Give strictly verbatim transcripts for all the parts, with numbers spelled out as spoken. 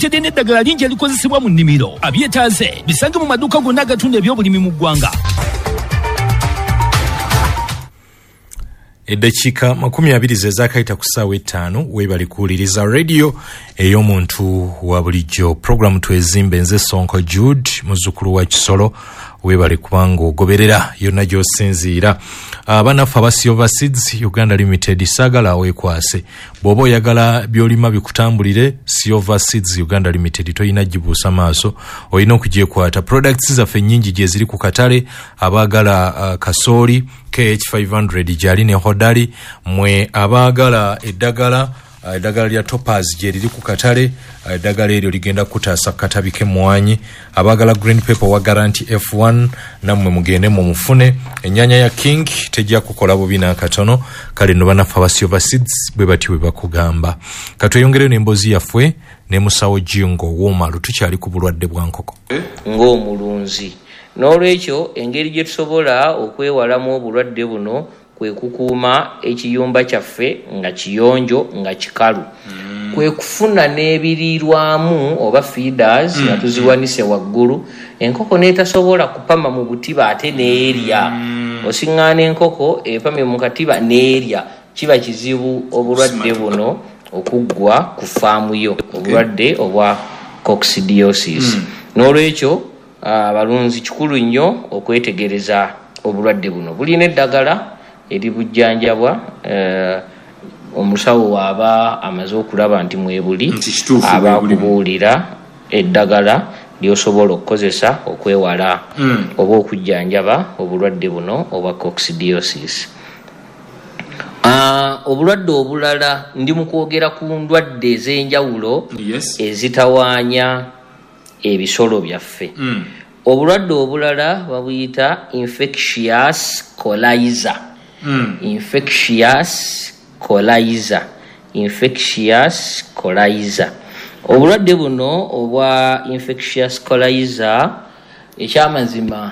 Bakuleetedde n'eddagala lingi erikozesebwa mu nnimiro. Abyetaaze bisange mu maduuka gonna agatunda ebyobulimi mu ggwanga. Eddakiika makumi abiri ze zaakayita ku ssaawa ettaano. Weebale kuwuliriza radio ey'omuntu wa bulijjo, programu Twezimbe. Nze Sonko Jude, muzzukulu wa Kisolo. Weebale kubanga ogoberera yonna gy'osinziira. Abanaffe aba Silver Seeds Uganda Limited, saagala weekwase. Bw'oba oyagala by'olima bikutambulire, Silver Seeds Uganda Limited toyina gibuusa maaso, olina okugyekwata. Products zaffe nnyingi gye ziri ku katale. Abaagala uh, kasooli K H five hundred gyali ne hodali. Mwe abaagala eddagala, uh, eddagala lya Topaz gye riri ku katale. uh, eddagala eryo ligenda kutaasa katabi k'emmwanyi. Abaagala green pepper wa Garanti F one, nammwe mugende mumufune. Ennyanya ya King tejja kukola bubi n'akatono. Kale nno bannaffe aba Silver Seeds bwe batyo bwe bakugamba. Katweyongereyo n'emboozi yaffe ne musawo Jingo Woomalu. Tukyali ku bulwadde bwa nkoko. Ng'omulunzi, n'olwekyo engeri gye tusobola okwewalamu obulwadde buno kwe kukuuma ekiyumba kyaffe nga kiyonjo, nga kikalu, kwe kufuna n'ebiriirwamu oba feeders nga tuziwanise waggulu, enkoko n'etasobola kupama mu butiba ate n'erya. Osiŋŋaana enkoko epamye mu katiba n'erya, kiba kizibu obulwadde buno okuggwa ku faamu yo, obulwadde obwa coccidiosis. N'olwekyo abalunzi, kikulu nnyo okwetegereza obulwadde buno. Bulina eddagala eribujjanjabwa. eh, omusawo waaba amaze okulaba nti mwebuli, Nti kituufu aba bwe bulimu. akubuulira eddagala lyosobola okukozesa okwewala Mm. oba okujjanjaba obulwadde buno obwa coccidiosis. Ah, obulwadde obulala, ndi mu kwogera ku ndwadde ez'enjawulo Yes. ezitawaanya ebisolo byaffe. Mm. Obulwadde obulala babuyita infectious coryza. Mm. Infectious coryza, infectious coryza. Obulwadde buno obwa infectious coryza, ekyamazima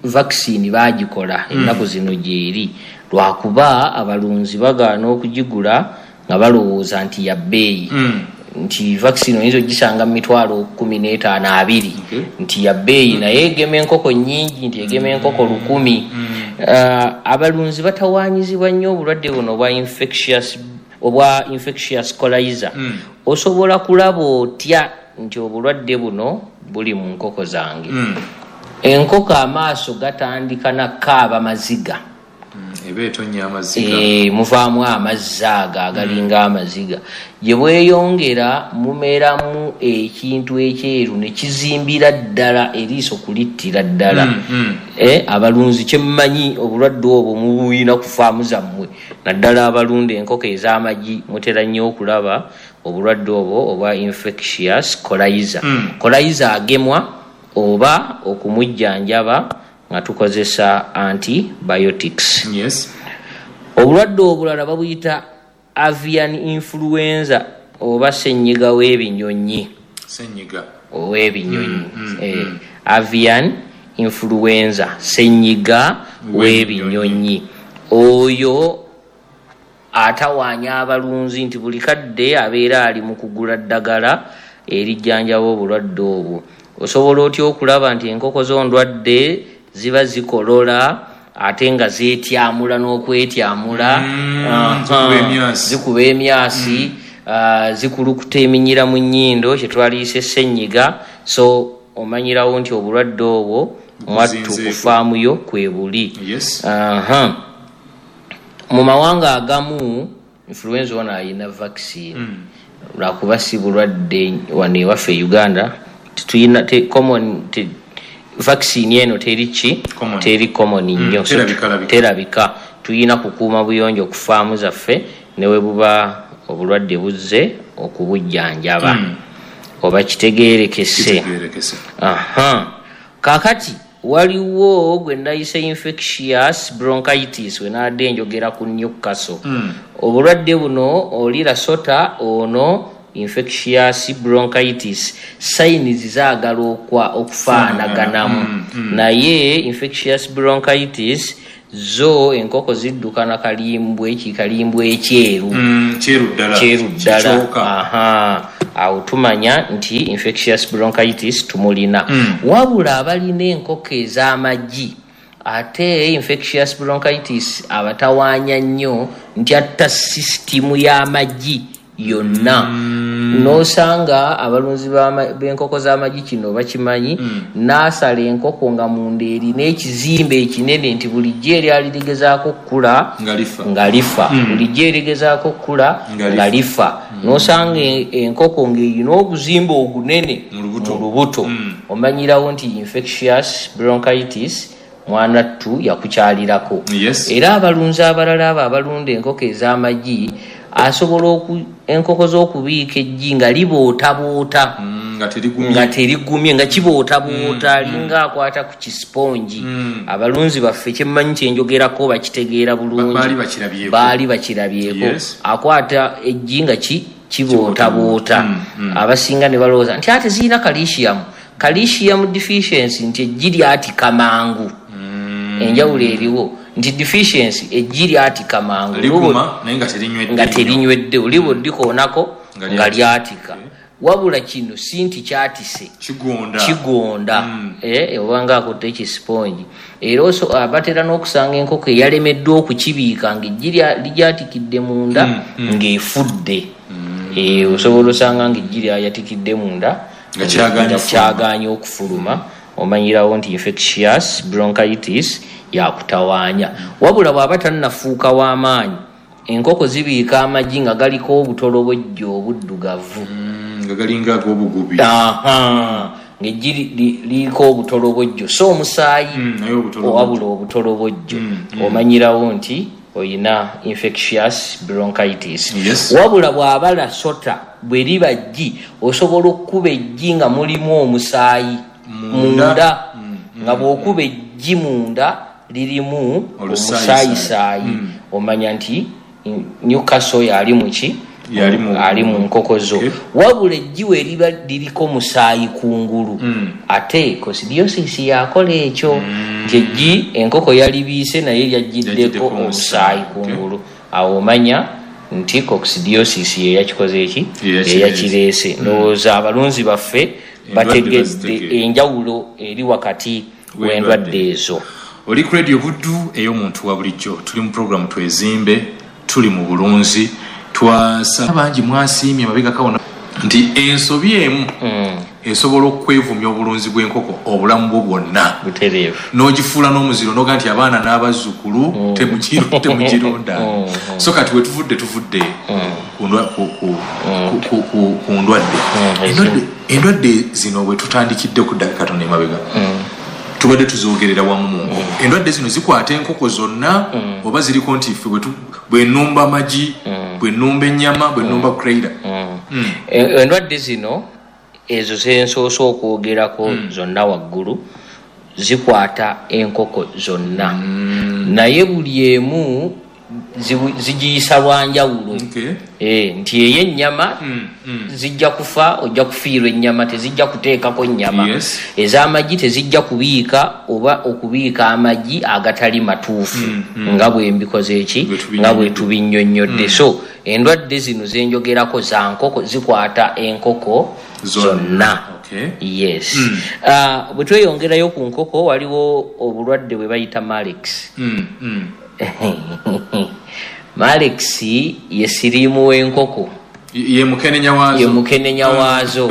vaccine bagikola ennaku zino gyeri, lwakuba abalunzi bagaana okugigula nga balowooza nti ya bbeeyi, Mm. nti vaccine oyinza ogisanga mu mitwalo kumi n'etaano, abiri, Okay. nti ya bbeeyi, naye egema enkoko nnyingi, nti egema enkoko lukumi. Uh, abalunzi batawaanyizibwa nnyo obulwadde buno obwa infectious obwa infectious coryza. Mm. Osobola kulaba otya nti obulwadde buno buli mu nkoko zange? Mm. Enkoko amaaso gatandika nakaaba maziga. Eba etonya amaziga. Eh, muvaamu amazzi ago agalinga amaziga. Gye bweyongera, mumeramu ekintu ekyeru ne kizimbira ddala eriiso kulittira ddala. Mm, mm. Eh, abalunzi, kyemmanyi obulwadde obwo mubuyina ku faamu zammwe, naddala abalunda enkoko ez'amagi, mutera nnyo okulaba obulwadde obwo obwa infectious coryza. Mm. Coryza agemwa oba okumujjanjaba nga tukozesa antibiotics. Yes. Obulwadde obulala babuyita avian influenza oba senyiga w'ebinyonyi. Senyiga. Ow'ebinyonyi. Mm, mm, eh, mm. Avian influenza, senyiga w'ebinyonyi. Oyo atawaanya abalunzi nti buli kadde abeera ali mu kugula ddagala erijjanjaba obulwadde obwo. Osobola otya okulaba nti enkoko z'ondwadde? Ziba zikolola ate nga zeetyamula n'okwetyamula. Mm, Aha. Zikuba emyasi. Zikuba emyasi, ah, zikulukuta eminyira mu nnyindo, kyetwaliise senyiga. So omanyirawo nti obulwadde obwo mwattu Bukuzinzeeko. ku faamu yo kwe buli. Yes. Aha. Mu mawanga agamu influenza ono ayina vaccine, Mm. lwakuba si bulwadde wano ewaffe e Uganda tetuyina te, common te, vaccine eno teri ki? Common. Teri common Mm, nnyo. So, terabika, labika. Terabika. Tuyina kukuuma buyonjo ku faamu zaffe, ne we buba obulwadde buzze, okubujjanjaba. Mm. Oba kitegeerekese? Kitegeerekese. Aha, kakati waliwo gwe ndayise infectious bronchitis, wenaadde njogera ku Newcastle. Mm. Obulwadde buno oli lasota ono infectious bronchitis, signs zaagala okwa okufaanaganamu. Mm, mm. Naye infectious bronchitis zo enkoko zidduka na kalimbwe, kikalimbwe ekyeru. Mm, kyeru ddala. Kyeru ddala. Kikyoka. Aha. Awo tumanya nti infectious bronchitis tumulina. Mm. Wabula abalina enkoko ez'amagi, ate infectious bronchitis abatawaanya nnyo nti atta sisitimu y'amagi yonna. Mm. N'osanga abalunzi b'ama-, b'enkoko z'amagi kino bakimanyi, Mm. n'asala enkoko nga munda erina ekizimbe ekinene nti bulijjo eryali ligezaako okukula Nga lifa. nga lifa. Mm. Bulijjo erigezaako okukula Nga lifa. nga lifa. Mm. N'osanga e-, enkoko ng'erina obuzimbe ogunene Mu lubuto. mu lubuto. Mm. Omanyirawo nti infectious bronchitis mwana ttu yakukyalirako. Yes. Era abalunzi abalala abo abalunda enkoko ez'amagi, asobola oku-, enkoko z'okubiika eggi nga libootaboota. Mm, nga terigumye. Nga terigumye, nga kibootaboota, Mm, mm. linga akwata ku kisipongi. Mm. Abalunzi baffe kyemmanyi kye njogerako bakitegeera bulungi. Ba-, baali bakirabyeko. Baali bakirabyeko. Yes. Akwata eggi nga ki-, kibootaboota. Mm, mm. Abasinga ne balowooza nti ate zirina calcium. Calcium deficiency nti eggi lyatika mangu. Mm. Enjawulo eriwo nti deficiency eggi lyatika mangu. Liguma, naye nga terinywedde Nga nnyo. terinywedde, oliba oddikoonako Nga nga lyatika. lyatika. Wabula kino si nti kyatise. Kigonda. Kigonda. Mm. Eh, oba nga akutte ekisipongi. Era oso-, ah, batera n'okusanga enkoko eyalemeddwa okukibiika ng'eggi lya-, ligyatikidde munda, Mm, mm. ng'efudde. Mm. Eh, osobola osanga ng'eggi lyayatikidde munda, Nga kyagaanye nga okufuluma. kyagaanye okufuluma. Omanyirawo nti infectious bronchitis yakutawaanya. Wabula bw'aba tannafuuka w'amaanyi, enkoko zibiika amagi nga galiko obutolobojjo obuddugavu. Mm, nga galinga ag'obugubi. Aha, ng'eggi li-, li-, liriko obutolobojjo, so omusaayi Mm, naye obutolobojjo. wabula obutolobojjo. Mm, mm. Omanyirawo nti oyina infectious bronchitis. Yes. Wabula bw'aba lasota, bwe liba ggi, osobola okkuba eggi nga mulimu omusaayi Munda. munda. Mm, mm, Nga bw'okuba eggi munda lirimu Olusaayi-saayi. omusaayi-saayi. Mm. Omanya nti Newcastle yali mu ki? Yali mu Ali mu nkoko zo. Okay. Wabula eggi we liba liriko musaayi kungulu. Mm. Ate coccidiosis yakola ekyo. Mm. Nti eggi enkoko yalibiise naye lyajjiddeko Lyajjiddeko omusaayi omusaayi. kungulu. Okay. Awo omanya nti coccidiosis ye yakikoze eki? Ye yakireese. Ye yakireese. Mm. Ndowooza abalunzi baffe Endwadde bategedde bazitegedde. enjawulo eri wakati W'endwadde. w'endwadde ezo. Oli ku Radio Buddu ey'omuntu wa bulijjo. Tuli mu program Twezimbe, tuli mu bulunzi. Twasaba bangi mwasiimye mabega kawona nti ensobi emu Mm. esobola okwevumya obulunzi bw'enkoko obulamu bwo bwonna. Butereevu. N'ogifuula n'omuziro n'oga nti abaana n'abazzukulu Mm. temugiru-, temugironda. Mm. So kati we tuvudde, tuvudde Mm. ku ndwa-, ku-, ku-, Mm. ku-, ku-, ku-, ku ndwadde. Mm. Endwadde, endwadde zino bwe tutandikidde ku ddakika katono emabega. Mm. Tubadde tuzoogerera wamu mu nkoko. Mm. Endwadde zino zikwata enkoko zonna, Mm. oba ziriko nti ffe bwe tu-, bwe nnumba amagi, Mm. bwe nnumba ennyama, bwe nnumba Mm. crater. Mm. Mm. E-, endwadde zino ezo ze nsoose okwogerako Mm. zonna waggulu zikwata enkoko zonna. Mm. Naye buli emu zibu-, zigiyisa lwa njawulo. Okay. Eh, nti ey'ennyama Mm, mm. zijja kufa, ojja kufiirwa ennyama, tezijja kuteekako nnyama. Yes. Ez'amagi tezijja kubiika oba okubiika amagi agatali matuufu. Mm, mm. Nga bwe mbikoze eki, Bwe tubinnyonnyodde. nga bwe tubinnyonnyodde. Mm. So endwadde zino ze njogerako za nkoko, zikwata enkoko Zonna. zonna. Okay. Yes. Mm. Ah, bwe tweyongerayo ku nkoko waliwo obulwadde bwe bayita Marek's. Mm, mm. Marek's ye siriimu w'enkoko. Ye, ye mukenenya waazo. Ye mukenenya waazo.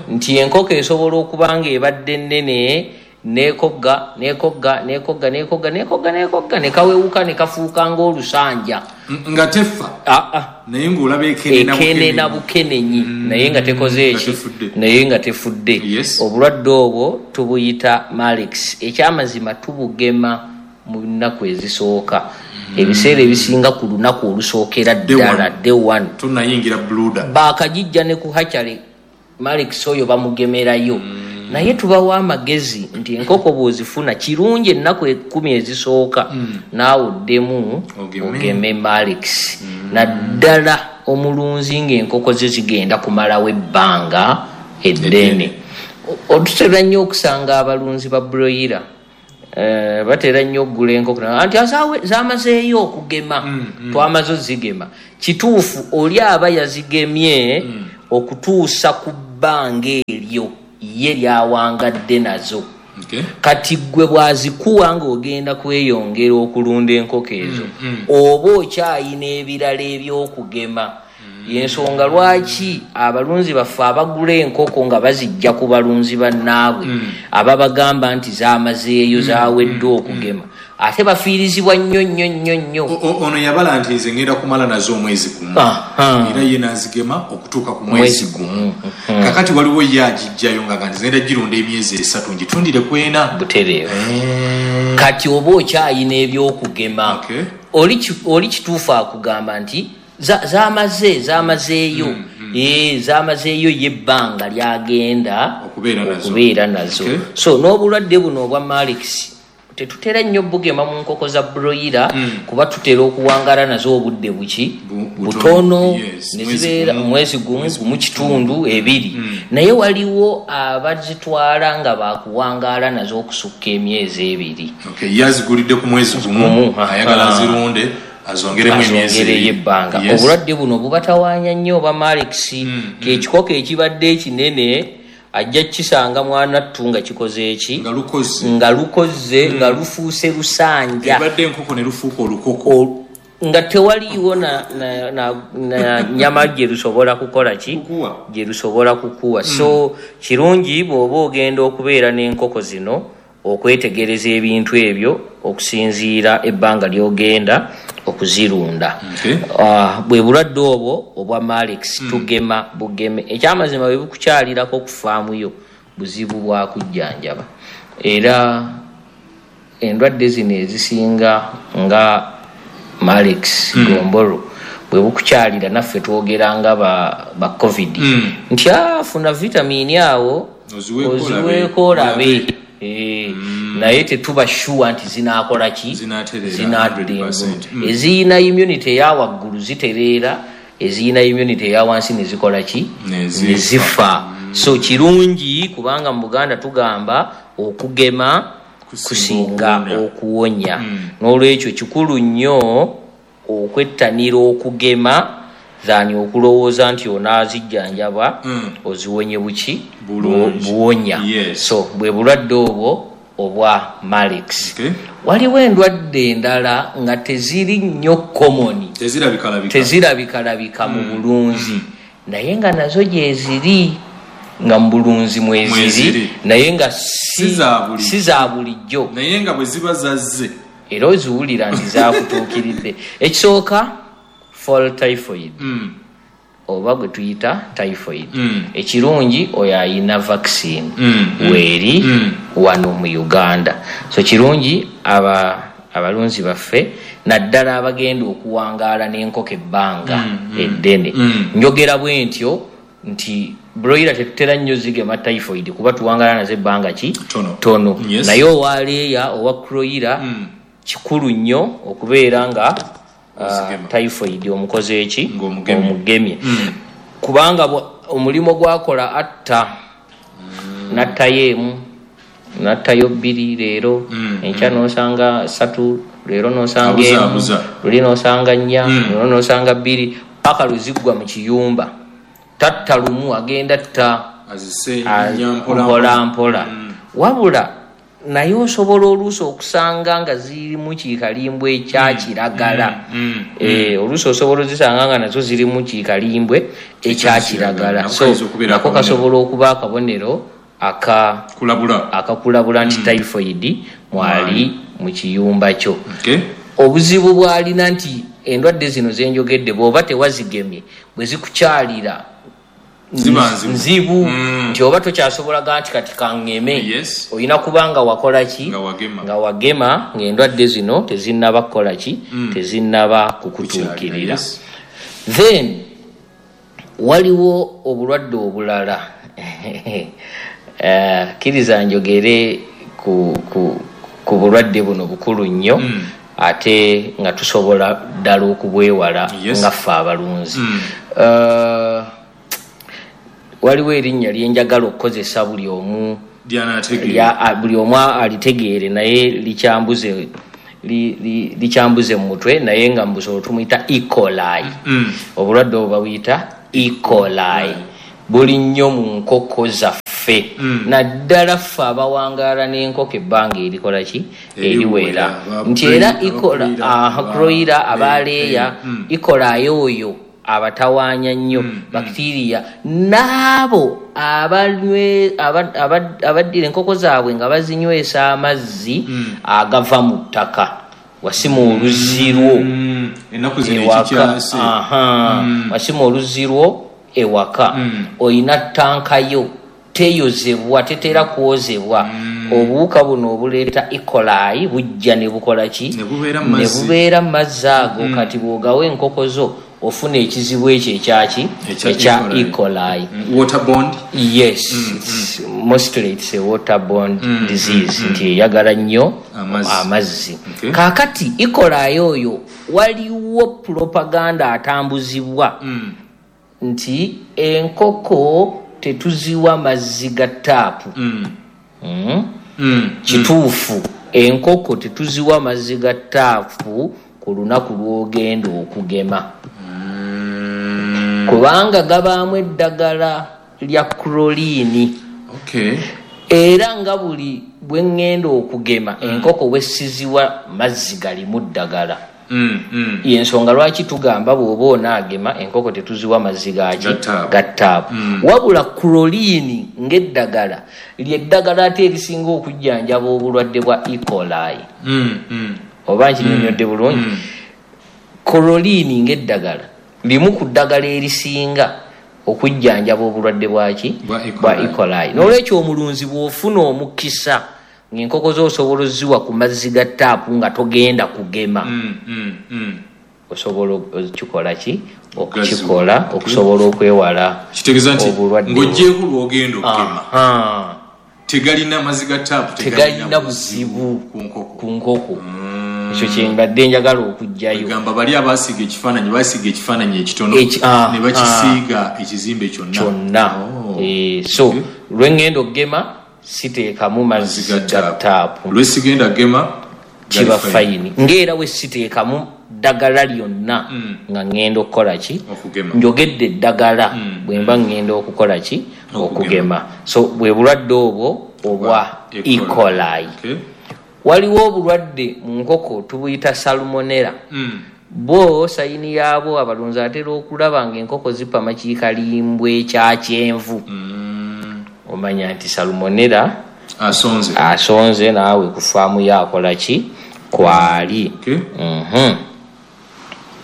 Nti enkoko esobola okuba ng'ebadde nnene, n'ekogga, n'ekogga, n'ekogga, n'ekogga, n'ekogga, n'ekogga, ne kawewuka ne kafuuka ng'olusanja. N-, nga tefa. Ah, ah. Naye ng'olaba ekenena Ekenena bukenenyi. bukenenyi. Mm. Naye nga tekoze Nga eki? tefudde. Naye nga tefudde. Yes. Obulwadde obwo tubuyita Marek's. Ekyamazima tubugema mu nnaku ezisooka. Mm. Ebiseera ebisinga ku lunaku olusookera Day ddala, one. day one. Tunnayingira bluda. Baakagijja ne ku hatchery, Marek's oyo bamugemerayo. Mm. Naye tubawa amagezi nti enkoko bw'ozifuna kirungi ennaku ekkumi ezisooka, Mm. naawe oddemu Ogeme. ogeme Marek's. Mm. Naddala omulunzi ng'enkoko ze zigenda kumalawo ebbanga eddene. Eddene. O-, otutera nnyo okusanga abalunzi ba broiler. Eh, batera nnyo okugula enkoko. Anti azaawe, zaamazeeyo okugema. Mm, mm. Twamaze ozigema. Kituufu oli aba yazigemye Mm. Okutuusa ku bbanga eryo ye lyawangadde nazo. Okay. Kati gwe bw'azikuwa ng'ogenda kweyongera okulunda enkoko ezo, Mm, mm. oba okyayina ebirala eby'okugema. Yensonga lwaki abalunzi baffe abagula enkoko nga bazijja ku balunzi bannaabwe Mm. ababagamba nti zaamazeeyo, zaawedde okugema, ate bafiirizibwa nnyo nnyo nnyo nnyo. O- o- ono yabala nti nze ngenda kumala nazo omwezi gumu, Aha. era ye n'azigema okutuuka ku mwezi Mwezi gumu. Kakati waliwo ye agijjayo nga ga nti ngenda girunda emyezi esatu ngitundire ku ena. Butereevu. Eh, Kati oba okyayina ebyokugema. Okay. Oli ki- oli kituufu akugamba nti za- zamaze zamazeeyo Eh, zamazeeyo ye ebbanga lyagenda Okubeera nazo. okubeera nazo. Okay. So n'obulwadde buno obwa Marek's tetutera nnyo bugema mu nkoko za broiler, kuba tutera okuwangala nazo obudde buki? Bu- butono. Butono. Yes, Ne mwezi zibeera gumu. mwezi gumu, gumu kitundu, ebiri. Naye waliwo abazitwala nga bakuwangaala nazo okusukka emyezi ebiri. Okay, ye azigulidde ku mwezi gumu, Gumu, aha. ayagala azirunde azongeremu emyezi azongereyo ebiri. ebbanga. Yes. Obulwadde buno bubatawaanya nnyo oba Marek's, kekikoko ekibadde ekinene ajja kukisanga mwanattu nga kikoze eki? Nga lukoze. Nga lukoze, nga lufuuse lusanja. Ebadde enkoko ne lufuuka olukoko. O- nga tewaliiwo na, na, na, na nyama gye lusobola kukola ki? Kukuwa. Gye lusobola kukuwa. So kirungi bw'oba ogenda okubeera n'enkoko zino okwetegereza ebintu ebyo okusinziira ebbanga ly'ogenda okuzirunda. Okay. Ah, bwe bulwadde obwo obwa Marek's tugema bugeme. Ekyamazima bwe bukukyalirako okufaamuyo buzibu bwa kujjanjaba. Era endwadde zino ezisinga nga Marek's, gombolo, bwe bukukyalira naffe twogera nga ba, ba COVID nti afuna vitamini awo Oziweeko olabe. oziweeko olabe. Eh, naye tetuba sure nti zinaakola ki? Zinaatereera Zinaatereera. one hundred percent. Mm. Eziyina immunity eya waggulu zitereera, eziyina immunity eya wansi ne zikola ki? Ne zifa. Ne zifa. So kirungi kubanga mu Buganda tugamba okugema Kusinga kusinga okuwonya. okuwonya. N'olwekyo kikulu nnyo okwettanira okugema than okulowooza nti onaazijjanjaba Mm. oziwonye buki? Bulungi. Buwonya. Yes. So bwe bulwadde obwo obwa Marek's. Okay. Waliwo endwadde endala nga teziri nnyo common, Tezirabikalabika. tezirabikalabika mu bulunzi, naye nga nazo gyeziri nga mu bulunzi mweziri, Mweziri. naye nga si Si za bulijjo. si za bulijjo. Naye nga bwe ziba zazze era oziwulira nti zakutuukiridde. Ekisooka, fall typhoid, Mm. oba gwe tuyita typhoid. Mm. Ekirungi oyo ayina vaccine Mm, mm, weeri mm. wano mu Uganda. So kirungi aba abalunzi baffe naddala abagenda okuwangaala n'enkoko ebbanga eddene. Mm. Njogera bwe ntyo nti broiler tetutera nnyo zigema typhoid kuba tuwangaala nazo ebbanga ki? Tono. Tono. Yes. Naye owa leeya, owa kroira, Mm. kikulu nnyo okubeera nga uh, Ozigema. typhoid omukoze eki? Ng'omugemye. Omugemye. Mm. Kubanga bwa- omulimu gwakola atta, n'attayo emu, n'attayo bbiri leero, Mm, enkya n'osanga ssatu, leero n'osanga Abuza, emu, abuza. luli n'osanga nnya, Mm. leero n'osanga bbiri, paka lwe ziggwa mu kiyumba. Tatta lumu, agenda tta Azise a- nnya mpola mpola mpola. Wabula naye osobola oluusi okusanga nga zirimu kikalimbwe ekyakiragala. Mm, Eh, oluusi osobola ozisanga nga nazo zirimu kikalimbwe ekyakiragala. Nako So kayinza okubeera nako akabonero. kasobola okuba akabonero aka Kulabula. akakulabula nti typhoid mwali mu kiyumba kyo. Okay. Obuzibu bwalina nti endwadde zino zenjogedde bw'oba tewazigemye, bwe zikukyalira Ziba nzibu. nzibu, Mm. nti oba tokyasobola ga nti kati kaŋŋeme. Yes. Olina kuba nga wakola ki? Nga wagema. Nga wagema ng'endwadde zino tezinnaba kukola ki? Tezinnaba kukutuukirira. Yes. Then waliwo obulwadde obulala. Eh, kkiriza njogere ku, ku, ku bulwadde buno, bukulu nnyo Mm. ate nga tusobola ddala okubwewala Yes. nga ffe abalunzi. Mm. Eh, waliwo erinnya lyenjagala okukozesa buli omu Lyanategeera. lya- a- buli omu alitegeere, naye likyambuze li- li- likyambuze mu mutwe, naye nga mu busolo tumuyita E. coli. Mm. Obulwadde obwo babuyita E. coli. Buli nnyo mu nkoko zaffe, Mm. naddala ffe abawangaala n'enkoko ebbanga erikola ki? Eriwera. Eriwera. Nti era Aba- ikola, abakulira, aha, aba- kroira, eh, abaleeya, eh, mm. ikolayo oyo abatawaanya nnyo Mm, mm. bakitiriya n'abo abanywe- aba- aba- abaddira enkoko zaabwe nga bazinywesa amazzi Mm. agava mu ttaka. Wasima oluzzi lwo Mm. Ennaku zino ewaka. ekikyase. Aha. Mm. Wasima oluzzi lwo ewaka, Mm. oyina ttanka yo teyozebwa, tetera kwozebwa. Mm. Obuwuka buno obuleeta E. coli bujja ne bukola ki? Ne bubeera mu Ne mazzi. bubeera mu mazzi ago. Mm. Kati bw'ogawa enkoko zo ofuna ekizibu ekyo ekyaki? Ekya Ekya E. E. coli. Mm. Waterborne? Yes, Mm, it's mostly it's a waterborne Mm, disease, mm, mm. nti eyagala nnyo Amazzi. amazzi. Okay. Kaakati E. coli oyo waliwo propaganda atambuzibwa Mm. nti enkoko tetuziwa mazzi ga taapu. Mm. Mm. Mm. Kituufu, enkoko tetuziwa mazzi ga taapu ku lunaku lw'ogenda okugema, Mm. kubanga gabaamu eddagala lya chlorine. Okay. Era nga buli bwe ŋŋenda okugema enkoko bwe siziwa mazzi galimu ddagala. Mm, mm. Yensonga lwaki tugamba bw'oba onaagema enkoko tetuziwa mazzi gaki? Ga taapu. Ga taapu. Mm. Wabula chlorine ng'eddagala lyeddagala ate erisinga okujjanjaba obulwadde bwa E. coli. Mm, mm. Oba nkinyonyodde bulungi? Mm. Chlorine ng'eddagala limu ku ddagala erisinga okujjanjaba obulwadde bwaki? Bwa E. Bwa coli. E. coli. N'olwekyo omulunzi bw'ofuna omukisa ng'enkoko zo osobola oziwa ku mazzi ga taapu nga togenda kugema, Mm, mm, mm. osobola okukikola ki? Okukikola Okay. okusobola okwewala Kitegeeza nti obulwadde. ng'oggyeeko lw'ogenda okugema, Aha. tegalina mazzi ga taapu, tegalina buzibu ku nkoko. Ku nkoko. Mm. Ekyo kyembadde njagala okuggyayo. Gamba bali abasiiga ekifaananyi basiiga ekifaananyi ekitono Eki- ah, ne bakisiiga ekizimbe kyonna. Kyonna. Oh. Eh, so Okay. lwe ŋŋenda okugema siteekamu mazzi Mazzi ga ga taapu. Lwesigenda gema kiba gali fine. Fine, ng'era we siteekamu ddagala lyonna Mm. nga ŋŋenda okukola ki? Okugema. Njogedde eddagala Mm. bwe mba ŋŋenda okukola ki? Okugema. Okugema. So bwe bulwadde obwo obwa E. E. coli. Okay. Waliwo obulwadde mu nkoko tubuyita salmonella. Mm. Bo sign yaabwo abalunzi atera okulaba ng'enkoko zipama kiikalimbwe ekya kyenvu. Mm. Omanya nti salmonella asonze. Asonze naawe ku faamu yo akola ki? Kwali. Okay. Mhm.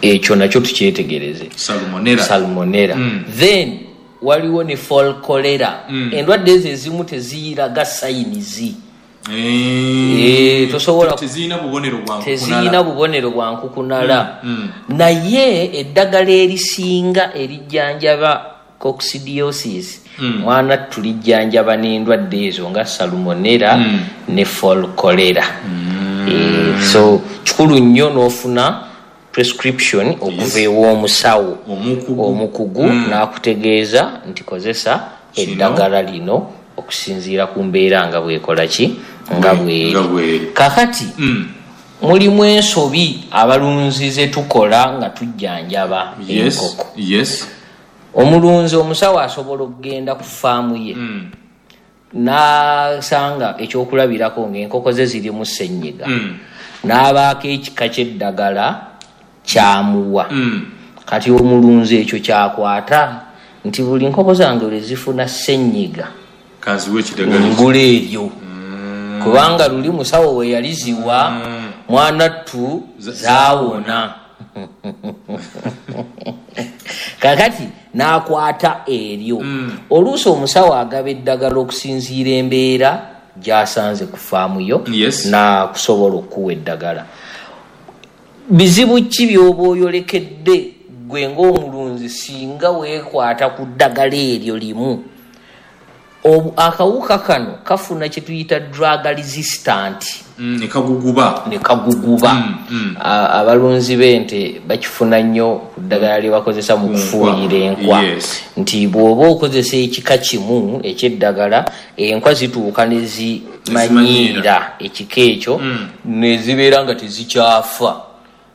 Ekyo nakyo tukyetegereze. Salmonella. Salmonella. Mm. Then waliwo ne fowl cholera. Mm. Endwadde ezo ezimu teziyiraga signs. Eh, Eh, tosobola- tezirina bubonero bwa Teziyina bubonero bwa nkukunala. Mm, Naye eddagala erisinga erijjanjaba coccidiosis, Mm. mwana tulijjanjaba n'endwadde ezo nga salmonella Mm. ne fowl cholera. Eh, so kikulu nnyo n'ofuna prescription okuva ew'omusawo omukugu. Omukugu Mm. n'akutegeeza nti kozesa Kino. eddagala lino okusinziira ku mbeera nga bwekola ki? Nga bweri. Nga bweri. Kakati Mm. mulimu ensobi abalunzi ze tukola nga tujjanjaba Yes. enkoko. Yes. Omulunzi, omusawo asobola okugenda ku faamu ye Mm. n'asanga ekyokulabirako ng'enkoko ze zirimu ssenyiga, Mm. n'abaako ekika ky'eddagala kyamuwa. Mm. Kati omulunzi ekyo kyakwata nti buli nkoko zange lwe zifuna ssenyiga kanziwe ekidagala. Ngula eryo, kubanga luli musawo we yaliziwa mwana ttu zaawona. Kakati n'akwata eryo. Oluusi omusawo agaba eddagala okusinziira embeera gy'asanze ku faamu yo Yes. n'akusobola okuwa eddagala. Bizibu ki by'oba oyolekedde gwe ng'omulunzi singa weekwata ku ddagala eryo limu? Obu- akawuka kano kafuna kye tuyita drug resistant. Mm, ne kaguguba. Ne kaguguba. Mm, mm. A- abalunzi b'ente bakifuna nnyo ku ddagala lye bakozesa mu Ku kufuuyira nkwa. enkwa. Yes. Nti bw'oba okozesa ekika kimu eky'eddagala, enkwa zituuka ne zimanyiira ekika ekyo Mm. ne zibeera nga tezikyafa.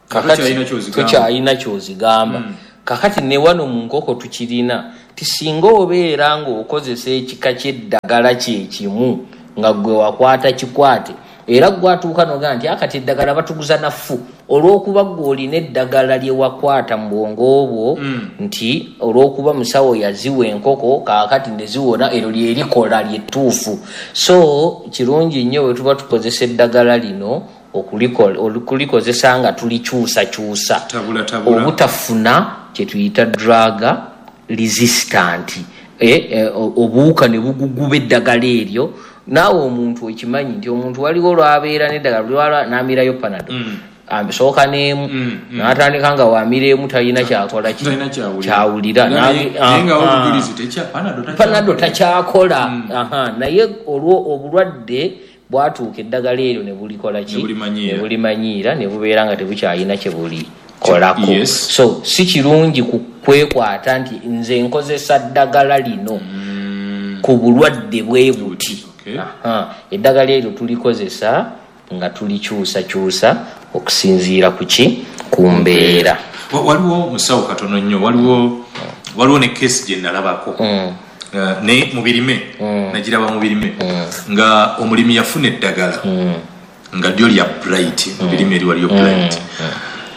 Kakati Tokyalina ky'ozigamba. Tokyalina ky'ozigamba. Kakati ne wano mu nkoko tukirina Ti singa obeera ng'okozesa ekika ky'eddagala kyekimu nga gwe wakwata kikwate, era gwatuuka n'ogamba nti akati eddagala batuguza naffu, olw'okuba gwe olina eddagala lye wakwata mu bwongo bwo, Mm. nti olw'okuba musawo yaziwa enkoko kaakati ne ziwona, eryo lye likola lyettuufu. So kirungi nnyo bwe tuba tukozesa eddagala lino okulikola- okulikozesa nga tulikyusakyusa, Tabula, tabula. obutafuna kye tuyita drug resistant, e, e, obuwuka ne buguguba eddagala eryo. Naawe omuntu okimanyi nti omuntu waliwo lwabeera n'eddagala lwala n'amirayo Panado, Mm. asooka n'emu, Mm, mm. n'atandika nga wamira emu talina kyakola ki? Talina kyawulira. Kyawulira. Naye- N'agi- naye nga ah, obujulizi tekya- Panado takyakola. Panado takyakola. Aha, naye olwo obulwadde bwatuuka eddagala eryo ne bulikola ki? Ne bulimanyiira. Ne bulimanyiira, ne bubeera nga tebukyalina kye bulikolako. Yes. So si kirungi ku kwekwata nti nze nkozesa ddagala lino ku bulwadde bwe buti. Okay. Aha, eddagala eryo tulikozesa nga tulikyusakyusa okusinziira ku ki? Ku mbeera. Wa- waliwo musawo katono nnyo, waliwo waliwo ne kesi gye nalabako, Mm. Uh, naye mu birime, nagiraba mu birime nga omulimi yafuna eddagala nga lyo lya Bright, mu birime eri waliyo Bright,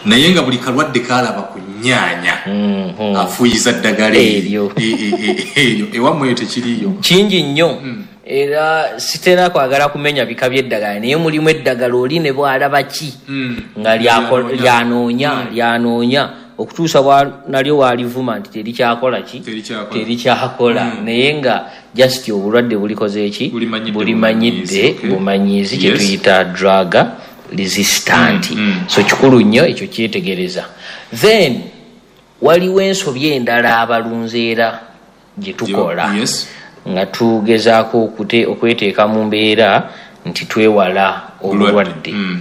naye nga buli kalwadde kalaba ku nnyaanya afuuyiza ddagala Eryo. E- e- e- eryo. Ewammwe eyo tekiriiyo? Kingi nnyo, era sitera kwagala kumenya bika by'eddagala, naye mulimu eddagala oli ne bw'alaba ki nga lyako- lyanoonya lyanoonya okutuusa bwa- nalyo walivuma nti terikyakola ki? Terikyakola. Terikyakola, naye nga just obulwadde bulikoze ki? Bulimanyidde. Bulimanyidde. Bumanyiizi, okay. Bumanyiizi, Yes. kyetuyita drug resistant. Mm, mm. So kikulu nnyo ekyo kyetegereza. Then waliwo ensobi endala abalunzi era gye tukola Yes. nga tugezaako okute- okweteeka mu mbeera nti twewala obulwadde. Mm.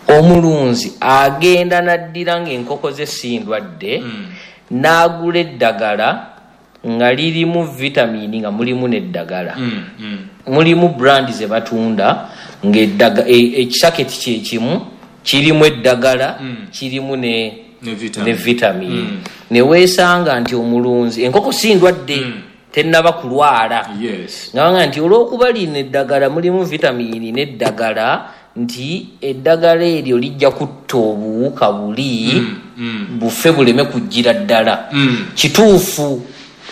Omulunzi agenda n'addira ng'enkoko ze si ndwadde, n'agula eddagala nga lirimu vitamini, nga mulimu n'eddagala, Mm, mm. mulimu brand ze batunda ng'eddaga- e- ekisaketi kyekimu kirimu eddagala, kirimu ne Ne vitamin. Ne vitamini, ne weesanga nti omulunzi enkoko si ndwadde, tennaba kulwala, Yes. nga nti olw'okuba lino eddagala mulimu vitamini n'eddagala, nti eddagala eryo lijja kutta obuwuka buli bufe buleme kujjira ddala. Mm. Kituufu,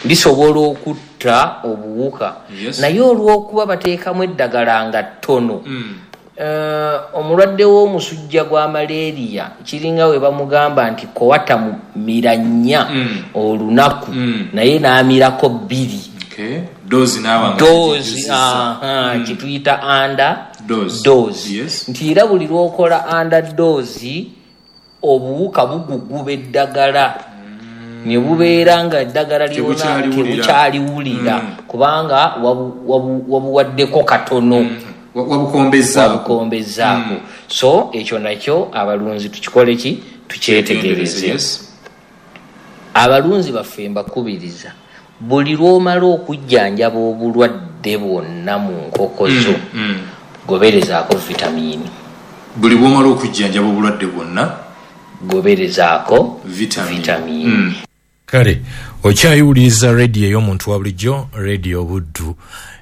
lisobola okutta obuwuka, Yes. naye olw'okuba bateekamu eddagala nga ttono, Mm. Eh, omulwadde w'omusujja gwa malaria kiringa we bamugamba nti kowata mira nnya Mm. olunaku, Mm. naye n'amirako bbiri. Okay. Dose n'aba nga Dose, tezijjuzizza. aha, kyetuyita under Dose. dose. Yes. Nti era buli lwokola under dose, obuwuka buguguba eddagala ne bubeera nga eddagala lyona Tebukyaliwulira. tebukyaliwulira, kubanga wabu- wabu- wabuwaddeko katono. Wa- wabukombezzaako. Wabukombezzaako. So ekyo nakyo abalunzi tukikole ki? Tukyetegereze. Yes. Abalunzi baffe mbakubiriza, buli lw'omala okujjanjaba obulwadde bwonna mu nkoko zo, Mm. goberezaako vitamiini. Buli bw'omala okujjanjaba obulwadde bwonna, Goberezaako Vitamin. vitamiini. Mm. Kale okyayiwuliriza rediyo ey'omuntu wa bulijjo, Rediyo Buddu,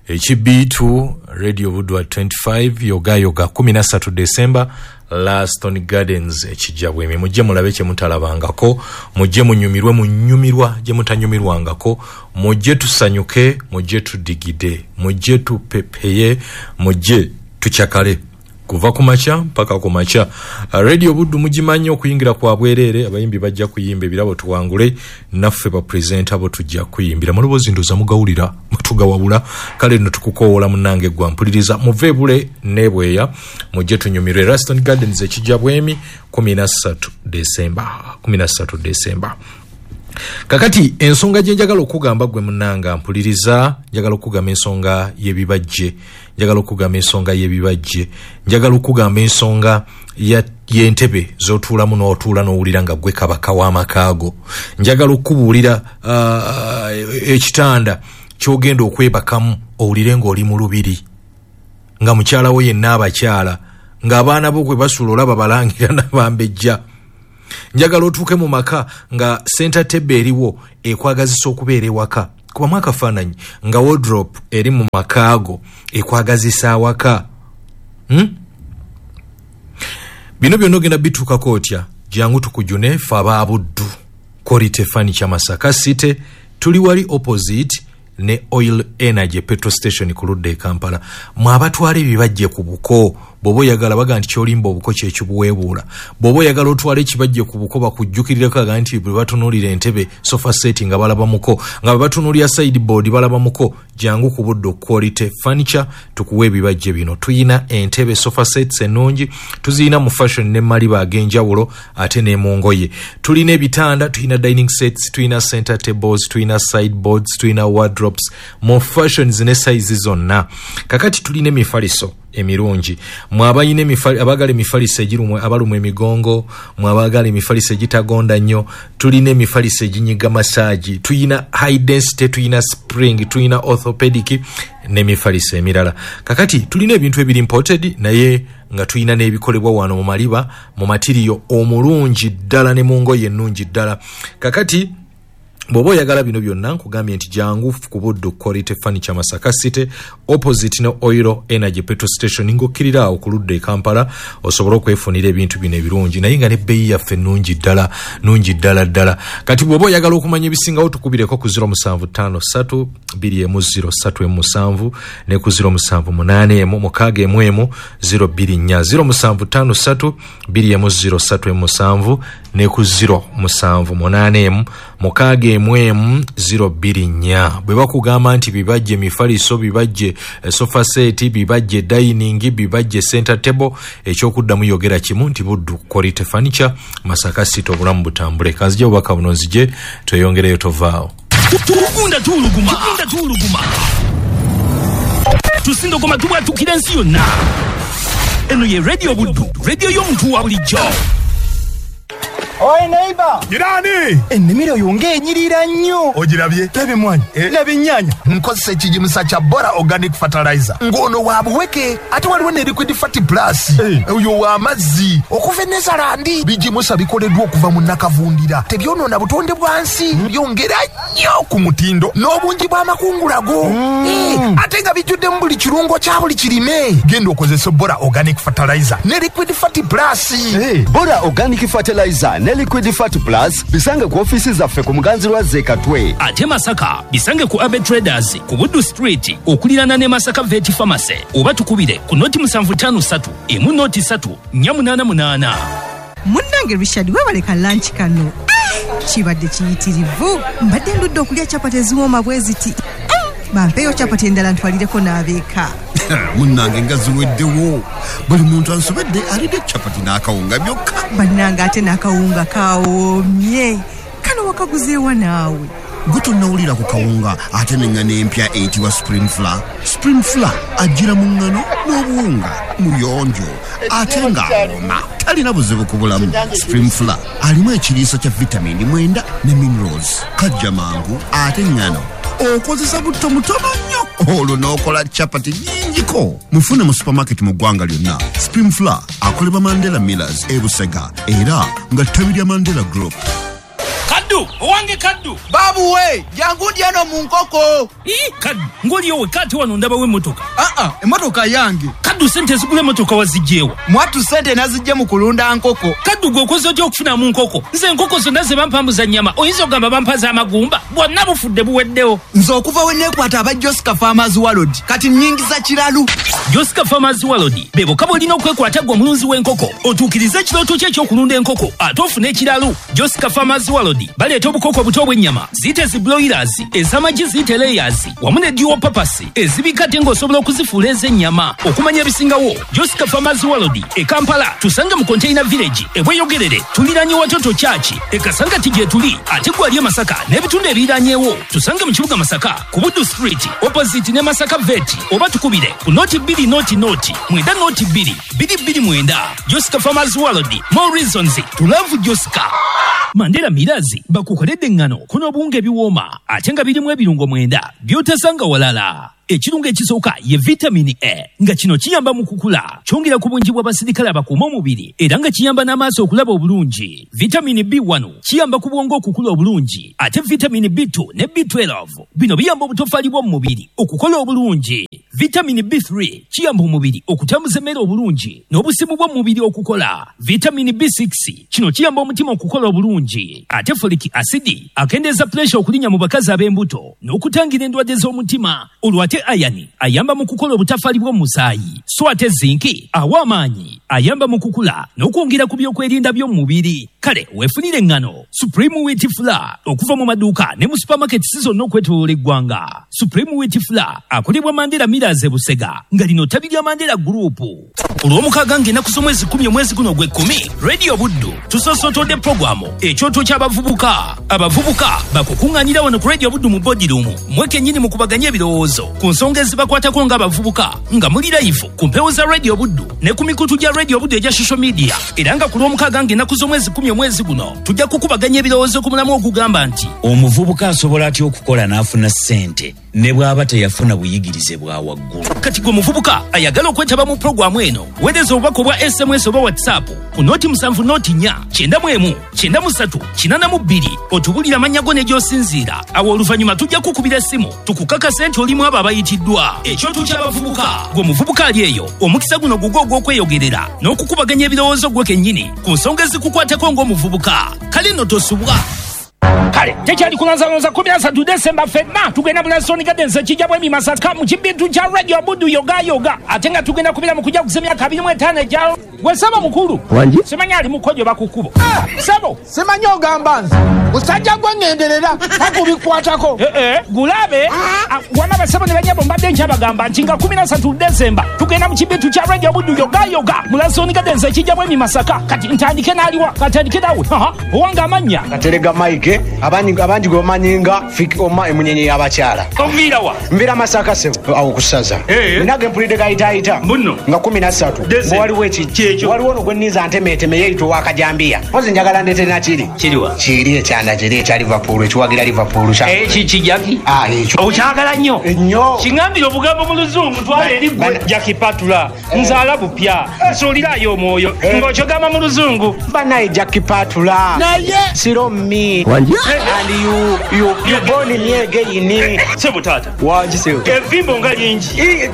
ekibiitu Rediyo Buddu at twenty-five, yogayoga kumi na ssatu Desemba, Laston Gardens ekijja bwemi. Mujje mulabe kye mutalabangako, mujje munyumirwe munyumirwa gye mutanyumirwangako, mujje tusanyuke, mujje tudigide, mujje tupepeye, mujje tukyakale kuva ku makya mpaka ku makya. Radio Buddu mugimanyi, okuyingira kwa bwereere, abayimbi bajja kuyimba, ebirabo tuwangule, naffe bapresenta bo tujja kuyimbira maloboozi, ndoza mugawulira tugawabula. Kale nno tukukowoola munnange gwa mpuliriza, muve bule nebweya, mujje tunyumirwe Raston Gardens ekijja bwemi kumi na ssatu Desemba, kumi na ssatu Desemba. Kakati ensonga gye njagala okugamba gwe munnanga mpuliriza, njagala okugamba ensonga y'ebibajje, njagala okugamba ensonga y'ebibajje, njagala okugamba ensonga y'entebe z'otuulamu n'otuula n'owulira nga gwe kabaka w'amakaago, njagala okubuulira uh, ekitanda ky'ogenda okwebakamu owulire ng'oli mu lubiri, nga mukyala wo yenna abakyala, ng'abaana bo kwe basula olaba balangira nabambejja. Njagala otuuke mu maka nga center table eriwo ekwagazisa okubeera ewaka. Kubamu akafaananyi nga wardrobe eri mu makaago ekwagazisa awaka. Hmm? Bino byonna ogenda bituukako otya? Jangu tukujune ffe aba Buddu Quality Furniture Masaka City, tuli wali opposite ne Oil Energy petrol station ku ludda e Kampala. Mwe abatwala ebibajje ku buko, bw'oba oyagala baga nti kyolimba obuko kyekibuweebuula. Bw'oba oyagala otwala ekibajje ku buko bakujjukirireko aga nti bwe batunuulira entebe sofa set nga balaba muko, nga bwe batunuulira sideboard balaba muko. Jangu ku Buddu Quality Furniture tukuwe ebibajje bino. Tuyina entebe sofa sets ennungi, tuziyina mu fashion ne maliba ag'enjawulo ate ne mu ngoye. Tulina ebitanda, tulina dining sets, tulina center tables, tulina sideboards, tulina wardrobes mu fashions ne sizes zonna. Kakati tulina emifaliso emirungi. Mwe abalina emifali, abaagala emifaliso egirumwe, abalumwa emigongo, mwe abaagala emifaliso egitagonda nnyo, tulina emifaliso eginyiga massage, tulina high density, tulina spring, tulina orthopedic n'emifaliso emirala. Kakati tulina ebintu ebiri imported naye nga tulina n'ebikolebwa wano mu maliba, mu matiriyo omulungi ddala ne mu ngoye ennungi ddala. Kakati bw'oba oyagala bino byonna nkugambye nti jangu ku Buddu Quality Furniture Masaka City opposite ne Oil Energy petrol station ng'okkirira awo ku ludda e Kampala osobole okwefunira ebintu bino ebirungi naye nga n'ebbeeyi yaffe nnungi ddala, nnungi ddala ddala. Kati bw'oba oyagala okumanya ebisingawo tukubireko ku zero musanvu ttaano ssatu bbiri emu zero ssatu emu musanvu ne ku zero musanvu munaana emu mukaaga emu emu zero bbiri nnya, zero musanvu ttaano ssatu bbiri emu zero ssatu emu musanvu ne ku zero musanvu munaana emu mukaaga emu emu zero bbiri nnya. Bwe bakugamba nti bibajje emifaliso, bibajje sofa set, bibajje dining, bibajje center table, ekyokuddamu yogera kimu nti Buddu Quality Furniture Masaka City, obulamu butambule. Kanzije obubaka buno nzije tweyongereyo, tovaawo. Tugunda tuwuluguma, tugunda tuwuluguma, tusindogoma tubwatukira ensi yonna. Eno ye Radio Buddu, radio y'omuntu wa bulijjo. Oi neighbor. Jirani. Ennimiro yo ng'enyirira nnyo. Ogirabye? Laba emmwanyi, Eh. laba ennyaanya. Nkozesa ekigimusa kya Bora Organic Fertilizer. Ng'ono wa buweke ate waliwo ne Liquid Fat Plus. Eh. Oyo wa mazzi okuva e Netherland. Bigimusa bikoleddwa okuva mu nakavundira. Tebyonoona butonde bwa nsi. Byongera nnyo ku mutindo n'obungi bw'amakungula go. Mm. Eh, ate nga bijjuddemu buli kirungo kya buli kirime. Genda okozese Bora Organic Fertilizer ne Liquid Fat Plus. Eh. Bora Organic Fertilizer ne Liquid Fat Plus bisange ku ofiisi zaffe ku Muganzi lwa Zekatwe. Ate Masaka bisange ku Abe Traders ku Buddu Street okuliraana ne Masaka Vet Pharmacy oba tukubire ku noti musanvu ttaano ssatu emu noti ssatu nnya munaana munaana. Munnange Richard, weebale ka lunch kano. Ah, kibadde kiyitirivu. Mbadde ndudde okulya capati eziwooma bwe ziti. Ah, bampeeyo capati endala ntwalireko n'abeeka. Munnange nga ziweddewo. Buli muntu ansobedde alidde capati n'akawunga byokka. Bannange ate n'akawunga kawoomye. Kano wakaguzeewa naawe? Gwe tonnawulira ku kawunga ate n'eŋŋano empya eyitibwa Spring Flour. Spring Flour ajjira mu ŋŋano n'obuwunga muyonjo ate ng'awooma, talina buzibu ku bulamu. Spring Flour alimu ekiriisa kya vitamini mwenda ne minerals. Kajja mangu ate ŋŋano okozesa butto mutono nnyo olwo n'okola capati nnyingiko. Mufune mu supermarket mu ggwanga lyonna. Spring Flour akolebwa Mandela Millers e Busega era nga ttabi lya Mandela Group. Kaddu, owange Kaddu. Babu we, jangu ndi eno mu nkoko. Ii, Kaddu, ng'oliyo wekka ate wano ndabawo emmotoka. Ah, ah, emmotoka yange. Kaddu, ssente ezigula emmotoka waziggyeewa? Mwattu ssente naziggye mu kulunda nkoko. Kaddu, gwe okoze otya okufunamu nkoko? Nze enkoko zonna ze bampambuza nnyama, oyinza okugamba bampa z'amagumba? Bwonna bufudde buweddewo. Nze okuva we neekwata aba Josca Farmers World, kati nnyingiza kiralu. Josca Farmers World, be bokka bw'olina okwekwata ggwe omulunzi w'enkoko, otuukirize ekirooto kyo eky'okulunda enkoko, ate ofune ekiralu. Josca Farmers World baleeta obukoko obuto obw'ennyama, ziyite zi broilers, ez'amagi ziyite layers, wamu ne dual purpose, ezibika ate ng'osobola okuzifuula ez'ennyama. Okumanya ebisingawo, Josca Farmers World e Kampala, tusange mu Container Village, e Bweyogerere, tuliraanye Watoto Church, e Kasangati gye tuli, ate gwe ali e Masaka n'ebitundu ebiriranyeewo, tusange mu kibuga Masaka, ku Buddu Street, opposite ne Masaka Vet, oba tukubire ku noti bbiri noti noti, mwenda noti bbiri, bbiri bbiri mwenda. Josca Farmers World, more reasons to love Josca. Mandela Millers bakukoledde eŋŋano kuno obuwunga ebiwooma ate nga birimu ebirungo mwenda by'otasanga walala. Ekirungo ekisooka ye vitamini A, nga kino kiyamba mu kukula, kyongera ku bungi bw'abasirikale abakuuma omubiri, era nga kiyamba n'amaaso okulaba obulungi. Vitamini B one kiyamba ku bwongo okukula obulungi, ate vitamini B two ne B twelve bino biyamba obutoffaali bw'omu mubiri okukola obulungi. Vitamini B three kiyamba omubiri okutambuza emmere obulungi n'obusimu bw'omubiri okukola. Vitamini B six kino kiyamba omutima okukola obulungi, ate folic acid akendeeza pressure okulinnya mu bakazi ab'embuto n'okutangira endwadde z'omutima. Olwo ate iron ayamba mu kukola obutafaali bw'omusaayi, so ate zinc awa amaanyi, ayamba mu kukula n'okwongera ku byokwerinda by'omubiri. Kale weefunire eŋŋano Supreme Wheat Flour okuva mu maduuka ne mu supermarkets zonna okwetooloola eggwanga. Supreme Wheat Flour akolebwa Mandela Millers e Busega, nga lino ttabi lya Mandela Group. Olw'omukaaga ng'ennaku z'omwezi kkumi omwezi guno ogw'ekkumi, Radio Buddu tusoosotodde puroguramu ekyoto ky'abavubuka. Abavubuka bakukuŋŋaanira wano ku Radio Buddu mu boardroom, mmwe kennyini mukubaganye ebirowoozo ku nsonga ezibakwatako ng'abavubuka, nga muli live ku mpewo za Radio Buddu ne ku mikutu gya Radio Buddu egya social media. Era nga ku lw'omukaaga ng'ennaku z'omwezi kkumi omwezi guno tujja kukubaganya ebirowoozo ku mulamu ogugamba nti omuvubuka asobola atya okukola n'afuna ssente ne bw'aba teyafuna buyigirize bwa waggulu. Kati gwe muvubuka ayagala okwetaba mu puroguramu eno, weereza obubaka obwa S M S oba WhatsApp ku noti musanvu noti nnya kyenda mu emu kyenda mu ssatu kinaana mu bbiri otubulire amannya go ne gy'osinziira. Awo oluvannyuma tujja kukubira essimu tukukakase nti olimu abo abayitiddwa. Ekyoto ky'abavubuka. Gwe muvubuka ali eyo, omukisa guno gugwo ogw'okweyogerera n'okukubaganya ebirowoozo gwe kennyini ku nsonga ezikukwatako ng'omuvubuka. Kale nno tosubwa. Kale tekyali kulanzalonza kumi na ssatu Desemba ffenna tugenda mu Lasoni Gardens ekijja bwemi Masaka mu kibintu kya Radio Buddu yoga yoga, ate nga tugenda kubeera mu kujaguza emyaka abiri mu etaano egya gwe ssebo mukulu. Simanyi ali mukojo bakukubo. Ssebo simanyi ogamba nze musajja gwe ŋŋenderera takubikwatako. Gulabe wama basebo ne banyabo mbadde nkyabagamba nti nga kumi na ssatu Desemba tugenda mu kibintu kya Radio Buddu yoga yoga mu Lasoni Gardens ekijja bwemi Masaka. Kati ntandike n'aliwa, katandike nawe owange amannya Katerega Mike, abangi abangi gwe bamanyi nga Fik Oma emunyenye y'abakyala. Onviira wa? Nviira Masaka ssebo awo ku ssaza. Nina ge mpulidde gayitaayita nga kumi na ssatu nga waliwo ekijja, waliwo ono gwe nninza ntemeeteme yeeyita ow'akajambiya. Mpozi njagala ndeete nakiri. Kiriwa? Kiri ekyanda kiri ekya Liverpool ekiwagira Liverpool kya. Eki Jackie? Ah, ekyo. Okyagala nnyo? Nnyo. Kiŋŋambire obugambo mu Luzungu twala eri gwe Jackie Patula. Nzaala bupya. Nsuulirayo omwoyo. Ng'okyogamba mu Luzungu. Bannaye Jackie Patula. Naye. Siro me. And you, you, you born me again. Sebo tata. Wangi sebo. Evimbo nga lingi.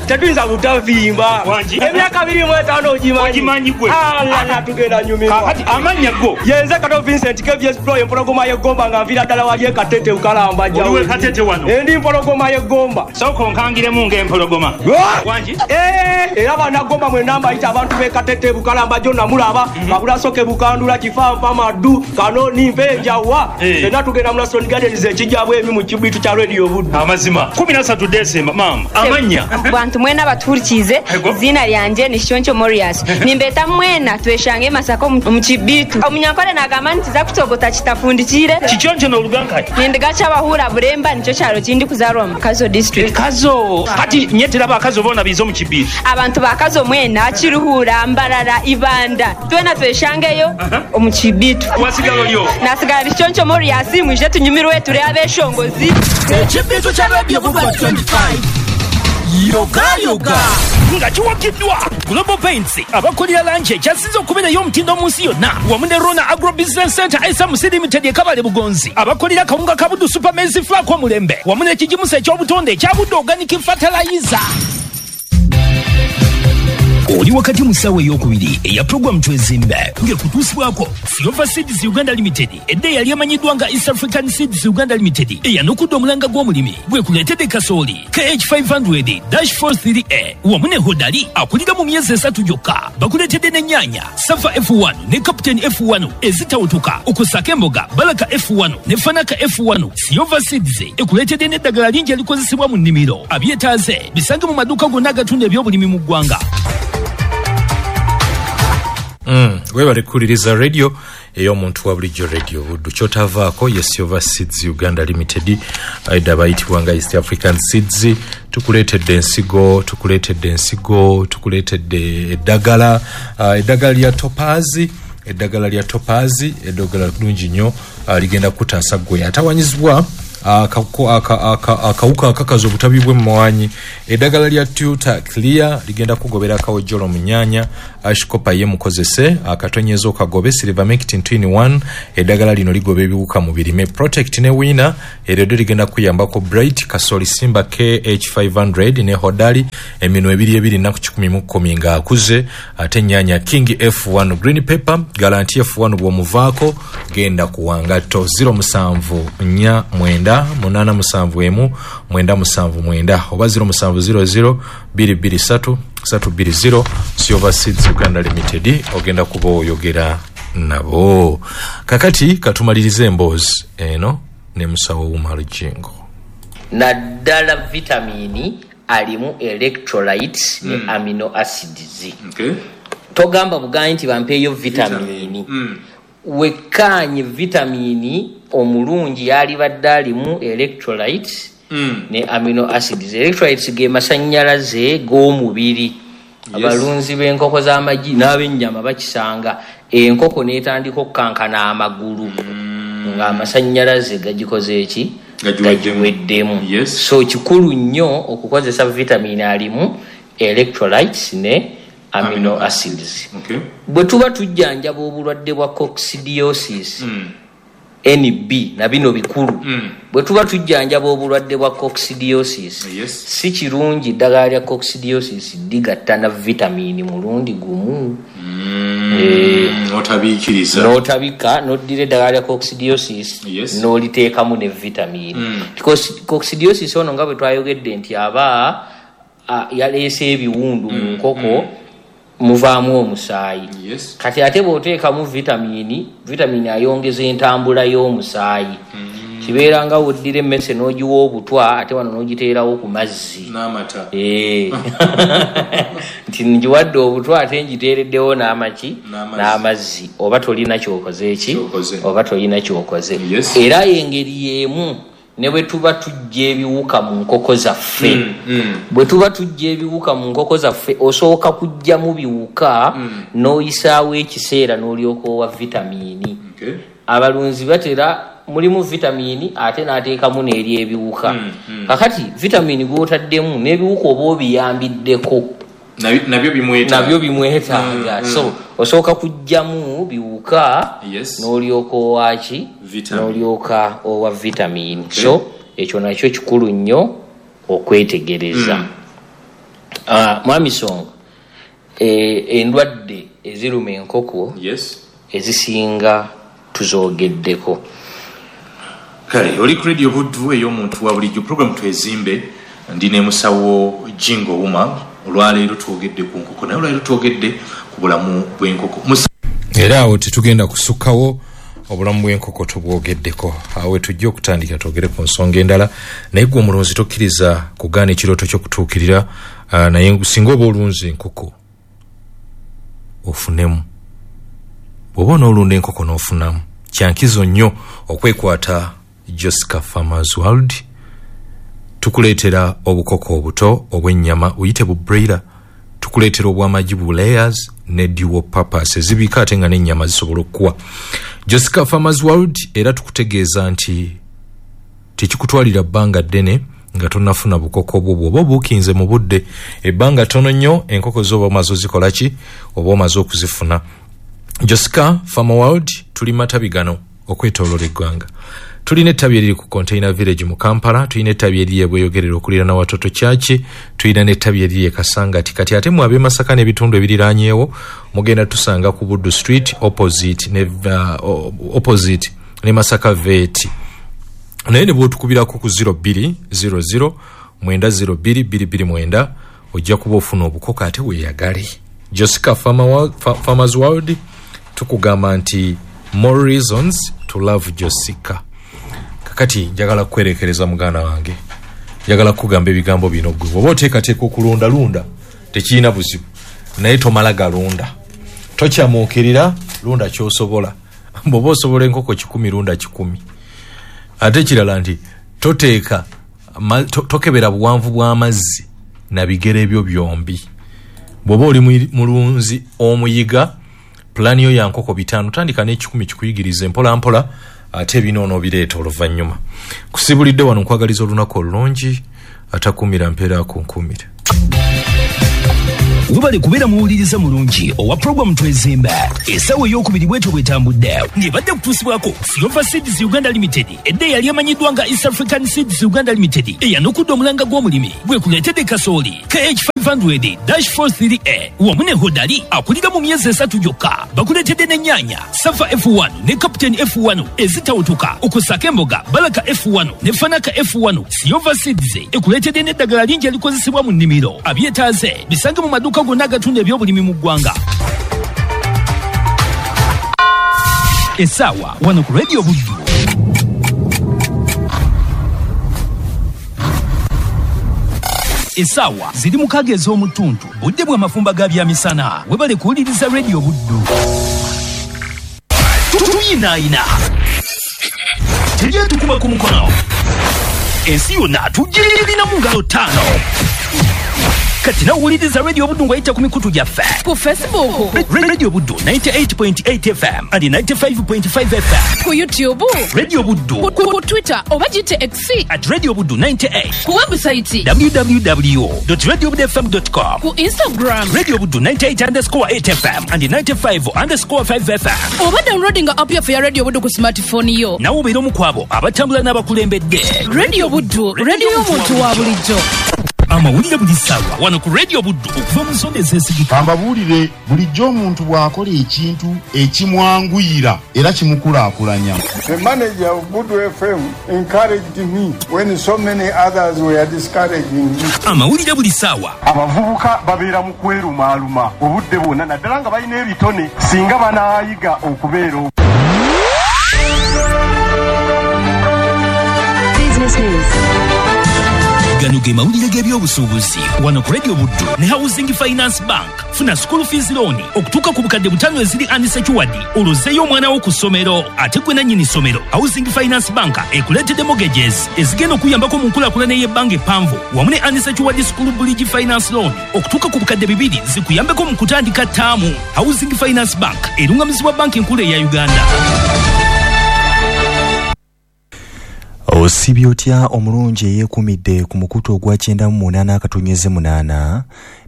Tetuyinza butavimba. Wangi. Emyaka abiri mu etaano ogimanyi. Ogimanyi gwe. Ala tugenda nyumirwa. Kakati amannya go. Yenze Kato Vincent K V S Pro empologoma y'eggomba nga nviira ddala wali e Katete Ukalamba jjawo. Oliwe Katete wano. Endi mpologoma y'eggomba. Sooka onkangiremu ng'empologoma. Wangi. Eh, era bannagomba mwenna mbayita abantu b'e Katete Bukalamba gyonna mulaba. Kabulasoke Bukandula Kifampa Maddu Kanoni Mpenjawa. Fenna tugenda mu Lasoni Gardens ekijja bwemi mu kibitu kya Radio Buddu. Amazima. kumi na ssatu Desemba maama. Amannya. Bantu mwena batuhurikize izina lyanje ni Shoncho Morias. Nimbeta mwena tweshange Masaka mu kibitu. Omunyankole nagamba nti za kutogota kitafundikire. Kichoncho n'oluganka. Nindigacha abahura Buremba nicyo kyaro kindi kuzarwa mu Kazo district. Kazo. Kati nyetera bakazo bona bizo mu kibitu. Abantu bakazo mwena Kiruhura, Mbarara, Ibanda. Twena tweshangeyo omu kibitu. Wasigalo lyo. Nasigala Shoncho Morias mwije tunyumirwe ture abeshongozi. Ekibitu kya Radio Buddu twenty-five. Yoga yoga. Nga kiwagiddwa Global Paints abakolera langi ekyasinze okubeerayo omutindo mu nsi yonna wamu ne Rona Agro Business Center S M C Limited e Kabale Bugonzi abakolera kawunga ka Buddu Super Maize Flour kw'omulembe wamu n'ekigimusa eky'obutonde ekya Buddu Organic Fertilizer. Oli wakati mu ssaawa ey'okubiri eya puroguramu Twezimbe ng'ekutuusibwako Silver Seeds Uganda Limited edda eyali emanyiddwa nga East African Seeds Uganda Limited eyanukudde omulanga gw'omulimi gwekuleetedde kasooli K H five hundred dash four three A wamu ne Hodari akulira mu myezi esatu gyokka. Bakuleetedde n'ennyaanya Safa F one ne Captain F one ezitawutuka okusaka emboga Baraka F one ne Fanaka F one. Silver Seeds ekuleetedde n'eddagala lingi erikozesebwa mu nnimiro. Abyetaaze bisange mu maduuka gonna agatunda ebyobulimi mu ggwanga. Mm, webale kuwuliriza radio ey'omuntu wa bulijjo Radio Buddu. Kyotavaako ye Silver Seeds Uganda Limited aidda bayitibwa nga East African Seeds. Tukuleetedde ensigo, tukuleetedde ensigo, tukuleetedde eddagala, uh, eddagala lya Topaz, eddagala lya Topaz, eddagala ddungi nnyo, uh, ligenda kutaasa ggwe atawanyizibwa Akawuka akakaza obutabi bw'emmwanyi, eddagala lya Tuta Clear ligenda kugobera akawojjolo mu nnyaanya. Ashkopa ye mukozese akatonyezo okagobe. Silvermectin two in one, eddagala lino ligoba ebiwuka mu birime. Protect ne Winner eryo ddyo ligenda kuyambako. Bright Kasoli Simba K H five hundred ne Hodari eminwe ebiri ebiri nnaku kikumi mu kkumi ng'akuze. Ate ennyaanya King F one Green Pepper Garanti F one bw'omuvaako genda kuwangatto zero musanvu nnya mwenda munaana musanvu emu mwenda musanvu mwenda oba zero musanvu zero zero bbiri bbiri ssatu ssatu bbiri zero. Silver Seeds Uganda Limited ogenda kuba oyogera nabo. Kakati katumalirize emboozi eno ne musawo Umar Jingo. Naddala vitamini alimu electrolytes mm. ne amino acids. Okay. Togamba buganyi nti bampeeyo vitamini. Mm. Wekkaanye vitamini omulungi yalibadde alimu electrolytes mm. ne amino acids. Electrolytes ge masannyalaze g'omubiri. Yes. Abalunzi b'enkoko z'amagi n'ab'ennyama bakisanga enkoko n'etandika okukankana amagulu mm. ng'amasannyalaze gagikoze eki? Gagiweddemu. Yes. So kikulu nnyo okukozesa vitamini alimu electrolytes ne amino, amino acids. Okay. Bwe tuba tujjanjaba obulwadde bwa coccidiosis mm. N B na bino bikulu mm. bwe tuba tujjanjaba obulwadde bwa coccidiosis, yes. si kirungi ddagala lya coccidiosis ligatta na vitamini mulundi gumu. mm. Eh, n'otabiikiriza n'otabika n'oddira eddagala lya coccidiosis yes. n'oliteekamu ne vitamini. mm. Coccidiosis ono nga bwe twayogedde nti aba yaleese ebiwundu mu mm. nkoko mm. muvaamu omusaayi. Yes. Kati ate bw'oteekamu vitamini, vitamini ayongeza entambula y'omusaayi. Mm. Kibeera nga woddira emmese n'ogiwa obutwa ate wano n'ogiteerawo ku mazzi n'amata. Eh. Nti ngiwadde obutwa ate ngiteereddewo n'amaki n'amazzi, oba tolina ky'okoze eki oba tolina ky'okoze. Yes. Era engeri y'emu ne bwe tuba tujja ebiwuka mu nkoko zaffe. mm, mm. Bwe tuba tujja ebiwuka mu nkoko zaffe osooka kujjamu biwuka mm. n'oyisaawo ekiseera n'olyoka owa vitamini. Okay. Abalunzi batera mulimu vitamini ate n'ateekamu n'eri ebiwuka. mm, mm. Kakati vitamini gw'otaddemu n'ebiwuka oba obiyambiddeko nabyo bimwetaaga, nabyo bimwetaaga. mm, mm. So osooka kujjamu biwuka yes. n'olyoka owaki n'olyoka owa vitamini. Okay. So ekyo nakyo kikulu nnyo okwetegereza. mm. Uh, Mwami Songo, e, endwadde eziruma enkoko yes. ezisinga tuzoogeddeko. Kale oli ku Radio Buddu ey'omuntu wa bulijjo, program Twezimbe, ndi ne musawo Jingo Umar. Olwaleero twogedde ku nkoko, naye olwaleero twogedde ku bulamu bw'enkoko. Era awo tetugenda kusukkawo, obulamu bw'enkoko tubwogeddeko. Awo tujja okutandika twogere ku nsonga endala, naye gwe omulunzi tokkiriza kugaana ekirooto ky'okutuukirira. Uh, naye singa oba olunzi enkoko ofunemu, bw'oba onoolunda enkoko n'ofunamu, kyankizo nnyo okwekwata Jessica Farmers World. Tukuleetera obukoko obuto obw'ennyama uyite bu broiler, tukuleetera obw'amagi bu layers ne dual purpose ezibika ate nga n'ennyama zisobola okukuwa. Jessica Farmers World era tukutegeeza nti tekikutwalira bbanga ddene nga tonnafuna bukoko bwo, bw'oba obuukinze mu budde ebbanga ttono nnyo enkoko z'oba omaze ozikola ki oba omaze okuzifuna. Jessica Farmer World tuli matabi gano okwetooloola eggwanga. Tulina ettabi eriri ku Container Village mu Kampala, tulina ettabi eriri e Bweyogerere okuliraana Watoto Church, tulina n'ettabi eriri e Kasangati. Kati ate mu ab'e Masaka n'ebitundu ebiriraanyeewo mugenda tusanga ku Buddu Street opposite ne, uh, opposite ne Masaka Vet. Naye ne bw'otukubirako ku zero bbiri zero zero mwenda zero bbiri bbiri bbiri mwenda ojja kuba ofuna obukoko ate weeyagale. Jessica Farmer, Farmers World tukugamba nti more reasons to love Jessica. Kakati njagala kwerekereza muganda wange, njagala kugamba ebigambo bino gwe oba oteekateeka okulunda lunda tekirina buzibu, naye tomala galunda, tokyamuukirira, lunda ky'osobola. Bw'oba osobola enkoko kikumi lunda kikumi. Ate ekirala nti toteeka to, tokebera buwanvu bw'amazzi na bigere ebyo byombi. Bw'oba oli mulunzi omuyiga, pulaani yo ya nkoko bitaano, tandika n'ekikumi kikuyigirize mpola mpola Ate bino onoobireeta oluvannyuma. Kusibulidde wano, nkwagaliza olunaku olulungi. Atakuumira mpeera akunkuumire. Webale kubeera muwuliriza mulungi owa puroguramu Twezimba. Essaawa ey'okubiri bwetyo bwetambudde ng'ebadde kutuusibwako Silver Seeds Uganda Limited, edda eyali emanyiddwa nga East African Seeds Uganda Limited, eyanukudde omulanga gw'omulimi gwekuleetedde kasooli K H five zero dash four three A wamu ne Hodali akulira mu myezi esatu gyokka. Bakuleetedde n'ennyaanya Safa F one ne Captain F one ezitawutuka, okussaako emboga Balaka F one ne Fanaka F one. Silver Seeds ekuleetedde n'eddagala lingi erikozesebwa mu nnimiro. Abyetaaze bisange mu maduuka gonna agatunda ebyobulimi mu ggwanga. Essaawa wano ku Radio Buddu, essaawa ziri mukaaga ez'omutuntu, budde bw'amafumba ga byamisana. Webale kuwuliriza Radio Buddu. Tuyinaayina, teryetukuba ku mukono, ensi yonna tugirina mu ngalo ttaano. Kati nawuliriza Radio Buddu ng'oyita ku mikutu gyaffe: ku Facebook, Radio Buddu ninety-eight point eight F M and ninety-five point five F M, ku YouTube, Radio Buddu, ku, ku, ku Twitter oba giyite X, at Radio Buddu ninety-eight, ku website w w w dot radio buddu f m dot com, ku Instagram, Radio Buddu ninety-eight underscore eight F M and ninety-five underscore five F M, oba downloadinga app yaffe ya Radio Buddu ku smartphone yo. Nawe obeera omu ku abo abatambula n'abakulembedde. Radio Buddu, radio y'omuntu wa bulijjo. Amawulire buli ssaawa wano ku Radio Buddu okuva mu nsonda ezeesigika. Kambabuulire, bulijjo omuntu bw'akola ekintu ekimwanguyira era kimukulaakulanya. The manager of Buddu F M encouraged me when so many others were discouraging me. Amawulire buli ssaawa. Abavubuka babeera mu kwerumaaluma obudde bwonna, naddala nga balina ebitone, singa banaayiga okubeera Business news. Gano ge mawulire g'ebyobusuubuzi wano ku Radio Buddu ne Housing Finance Bank. Funa school fees loan okutuuka ku bukadde butaano eziri unsecured, olwozeeyo omwana wo ku ssomero. Ate gwe nannyini ssomero, Housing Finance Bank ekuleetedde mortgages ezigenda okuyambako mu nkulaakulana ey'ebbanga eppanvu, wamu ne unsecured school bridge finance loan okutuuka ku bukadde bibiri zikuyambeko mu kutandika ttaamu. Housing Finance Bank erungamizibwa Banki Enkulu eya Uganda. Osibye otya omulungi eyeekumidde ku mukutu ogwa kyenda mu munaana akatonyeze munaana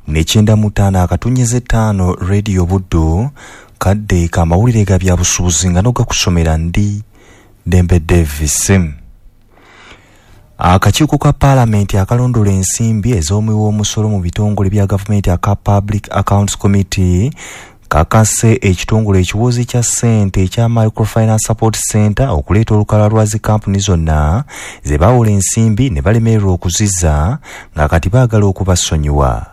ne kyenda mu ttaano akatonyeze ttaano Radio Buddu? Kadde kamawulire ga byabusuubuzi nga nogakusomera ndi Dembe Davis. Akakiiko ka paalamenti akalondola ensimbi ez'omuwi w'omusolo mu bitongole bya gavumenti aka Public Accounts Committee kakase ekitongole ekiwozi kya ssente ekya Microfinance Support Center okuleeta olukalala lwa zi kampuni zonna ze bawola ensimbi ne balemererwa okuzizza, nga kati baagala okubasonyiwa.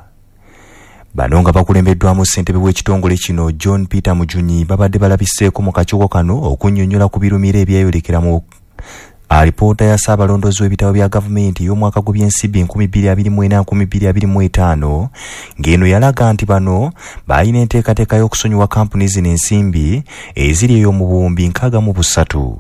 Bano nga bakulembeddwamu ssentebe w'ekitongole kino John Peter Mujunyi babadde balabiseeko mu kakiiko kano okunnyonnyola ku birumira ebyeyolekera mu alipoota ya ssaabalondozi w'ebitabo bya gavumenti ey'omwaka gw'ebyensimbi enkumi bbiri abiri mu ena enkumi bbiri abiri mu ttaano, ng'eno yalaga nti bano baalina enteekateeka y'okusonyiwa kampuni zino ensimbi eziri eyo mu buwumbi nkaaga mu busatu.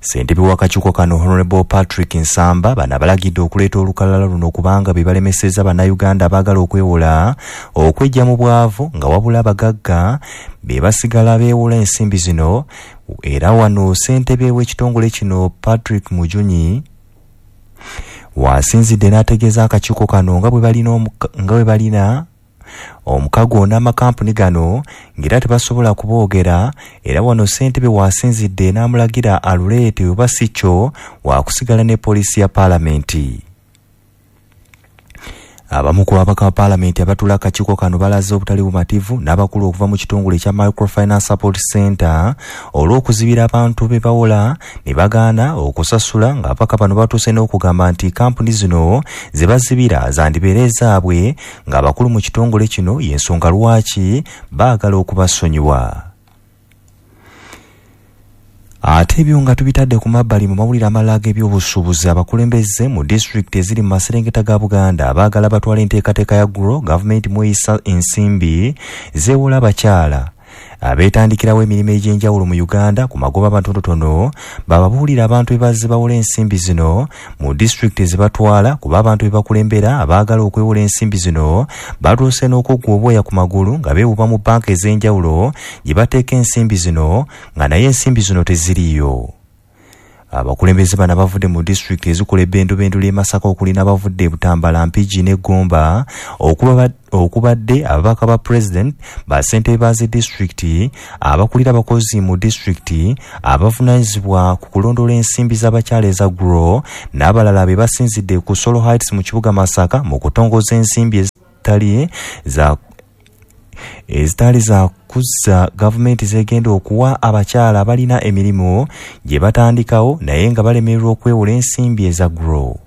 Ssentebe w'akakiiko kano Honorable Patrick Nsamba bano abalagidde okuleeta olukalala luno kubanga be balemesezza Bannayuganda abaagala okwewola okweggya mu bwavu, nga wabula abagagga be basigala beewola ensimbi zino. Era wano ssentebe w'ekitongole kino Patrick Mujunyi wasinzidde n'ategeeza akakiiko kano nga bwe balina omuka- nga bwe balina omukago n'amakampuni gano, ng'era tebasobola kuboogera. Era wano ssentebe wasinzidde n'amulagira aluleete, oba si kyo waakusigala ne poliisi ya paalamenti. Abamu ku babaka ba paalamenti abatuula akakiiko kano balaze obutali bumativu n'abakulu okuva mu kitongole ekya Microfinance Support Center olw'okuzibira abantu be bawola ne bagaana okusasula, ng'ababaka bano batuuse n'okugamba nti kampuni zino ze bazibira zandibeera ezaabwe, ng'abakulu mu kitongole kino y'ensonga lwaki baagala okubasonyiwa. Ate ebyo nga tubitadde ku mabbali, mu mawulire amalala ag'ebyobusuubuzi, abakulembeze mu disitulikiti eziri mu maserengeta ga Buganda baagala batwala enteekateeka ya GROW gavumenti mweyisa ensimbi zeewola abakyala Abeetandikirawo emirimu egy'enjawulo mu Uganda ku magoba amatonotono bababuulira abantu ebazze bawola ensimbi zino mu disitulikiti ezibatwala, kuba abantu bebakulembera abaagala okwewola ensimbi zino batuuse n'okuggwa obwoya ku magulu nga beewuba mu bbanka ez'enjawulo gye bateeka ensimbi zino nga naye ensimbi zino teziriiyo. Abakulembeze bano abavudde mu disitulikiti ezikola ebbendubendu ly'e Masaka okuli n'abavudde e Butambala, Mpigi ne Gomba, okubadde ababaka ba pulezidenti, bassentebe ba zi disitulikiti, abakulira abakozi mu disitulikiti, abavunaanyizibwa ku kulondoola ensimbi z'abakyala eza Grow n'abalala be basinzidde ku Solo Heights mu kibuga Masaka mu kutongoza ensimbi ezitali za ezitali za kuzza gavumenti zegenda okuwa abakyala abalina emirimu gye batandikawo naye nga balemererwa okwewola ensimbi eza Grow.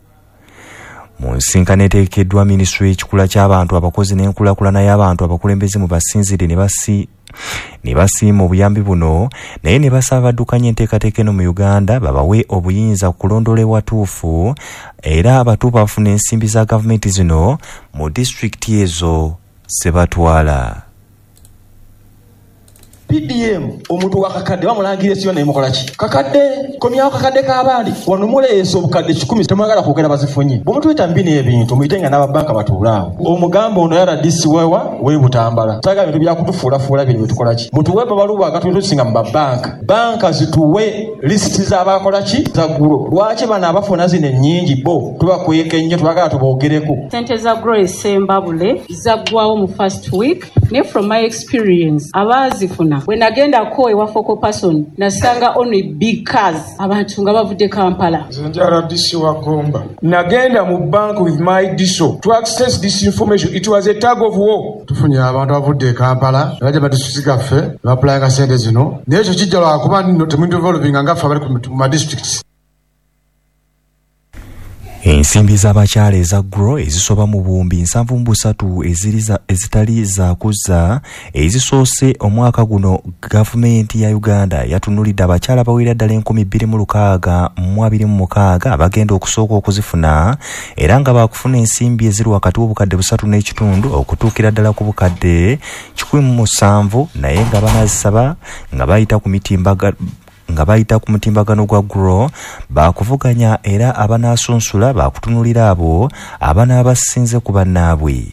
Mu nsinkano eteekeddwa minisitule y'ekikula ky'abantu, abakozi n'enkulaakulana y'abantu, abakulembeze mu basinzidde ne basi ne basiima obuyambi buno naye ne basaba baddukanya enteekateeka eno mu Uganda babawe obuyinza ku kulondoola ewatuufu era abatuufu bafuna ensimbi za gavumenti zino mu disitulikiti ezo zebatwala. P D M omuntu wa kakadde bamulangira esiyo naye mukola ki? Kakadde komyawo kakadde k'abandi wano muleese obukadde kikumi temwagala kwogera bazifunye. Bwe mutuyita mu bino ebintu muyite nga n'ababanka batuulaawo. Omugambo ono R D C wewa w'e Butambala. Twagala bintu byakutufuulafuula bino bye tukola ki? Mutuwe babaluwa agatusinga mu babanka. Banka zituwe lisiti z'abakola ki? Za Grow. Lwaki bano abafuna zino ennyingi bo tubakweka ennyo twagala tuboogereko. Ssente za Grow esembabule zaggwawo mu first week ne from my experience abaazifuna bwe nagendako ewa focal person nasanga only big cars abantu nga bavudde Kampala. Nze ndi R D C wa Gomba. Nagenda mu bank with my D S O to access this information. It was a tug of war. Tufunye abantu abavudde e Kampala ne bajja mu disitulikiti gaffe ne bapulayinga ssente zino naye ekyo kijja lwakuba nno temudevelopinga nga ffe abali ku ma districts. Ensimbi z'abakyala eza Grow ezisoba mu buwumbi nsanvu mu busatu ezitali za kuzza ezisoose omwaka guno gavumenti ya Uganda yatunulidde abakyala abawera ddala enkumi bbiri mu lukaaga mu abiri mu mukaaga abagenda okusooka okuzifuna era nga baakufuna ensimbi eziri wakati w'obukadde busatu n'ekitundu okutuukira ddala ku bukadde kikumi mu musanvu naye nga banazisaba nga bayita ku mitimbagano nga bayita ku mutimbagano gwa Grow baakuvuganya era abanasunsula baakutunulira abo abanaabasinze ku bannaabwe.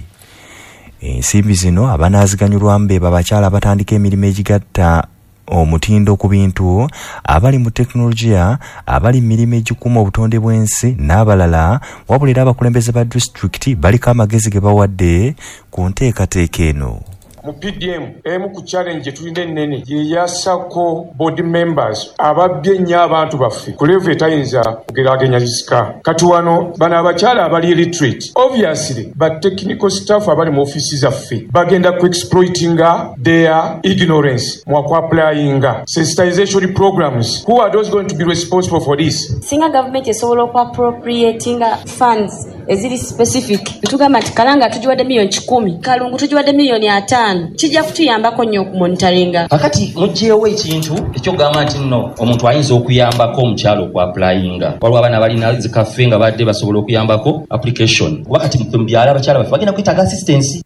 Ensimbi zino abanaaziganyulwamu be babakyala abatandika emirimu egigatta omutindo ku bintu, abali mu tekinologiya, abali mu mirimu egikuuma obutonde bw'ensi n'abalala. Wabula era abakulembeze ba disitulikiti baliko amagezi ge bawadde ku nteekateeka eno. Mu P D M emu ku challenge tulina ennene ye ya SACCO board members ababbye ennyo abantu baffe ku level etayinza kugeraageranyizika. Kati wano bano abakyala abali illiterate obviously ba technical staff abali mu ofiisi zaffe bagenda ku exploitinga their ignorance mu akuapplyinga sensitization programs. Who are those going to be responsible for this? Singa gavumenti esobola okuappropriatinga funds eziri specific, tugamba nti Kalanga tugiwadde miliyoni kikumi, Kalungu tugiwadde miliyoni ataano, kijja kutuyambako nnyo okumonitoringa. Kakati muggyeewo ekintu ekyokugamba nti nno omuntu ayinza okuyambako omukyala okuapplyinga. Waliwo abaana balina zikaffe nga badde basobola okuyambako application, kuba kati mu byalo abakyala baffe bagenda kwetaaga assistance.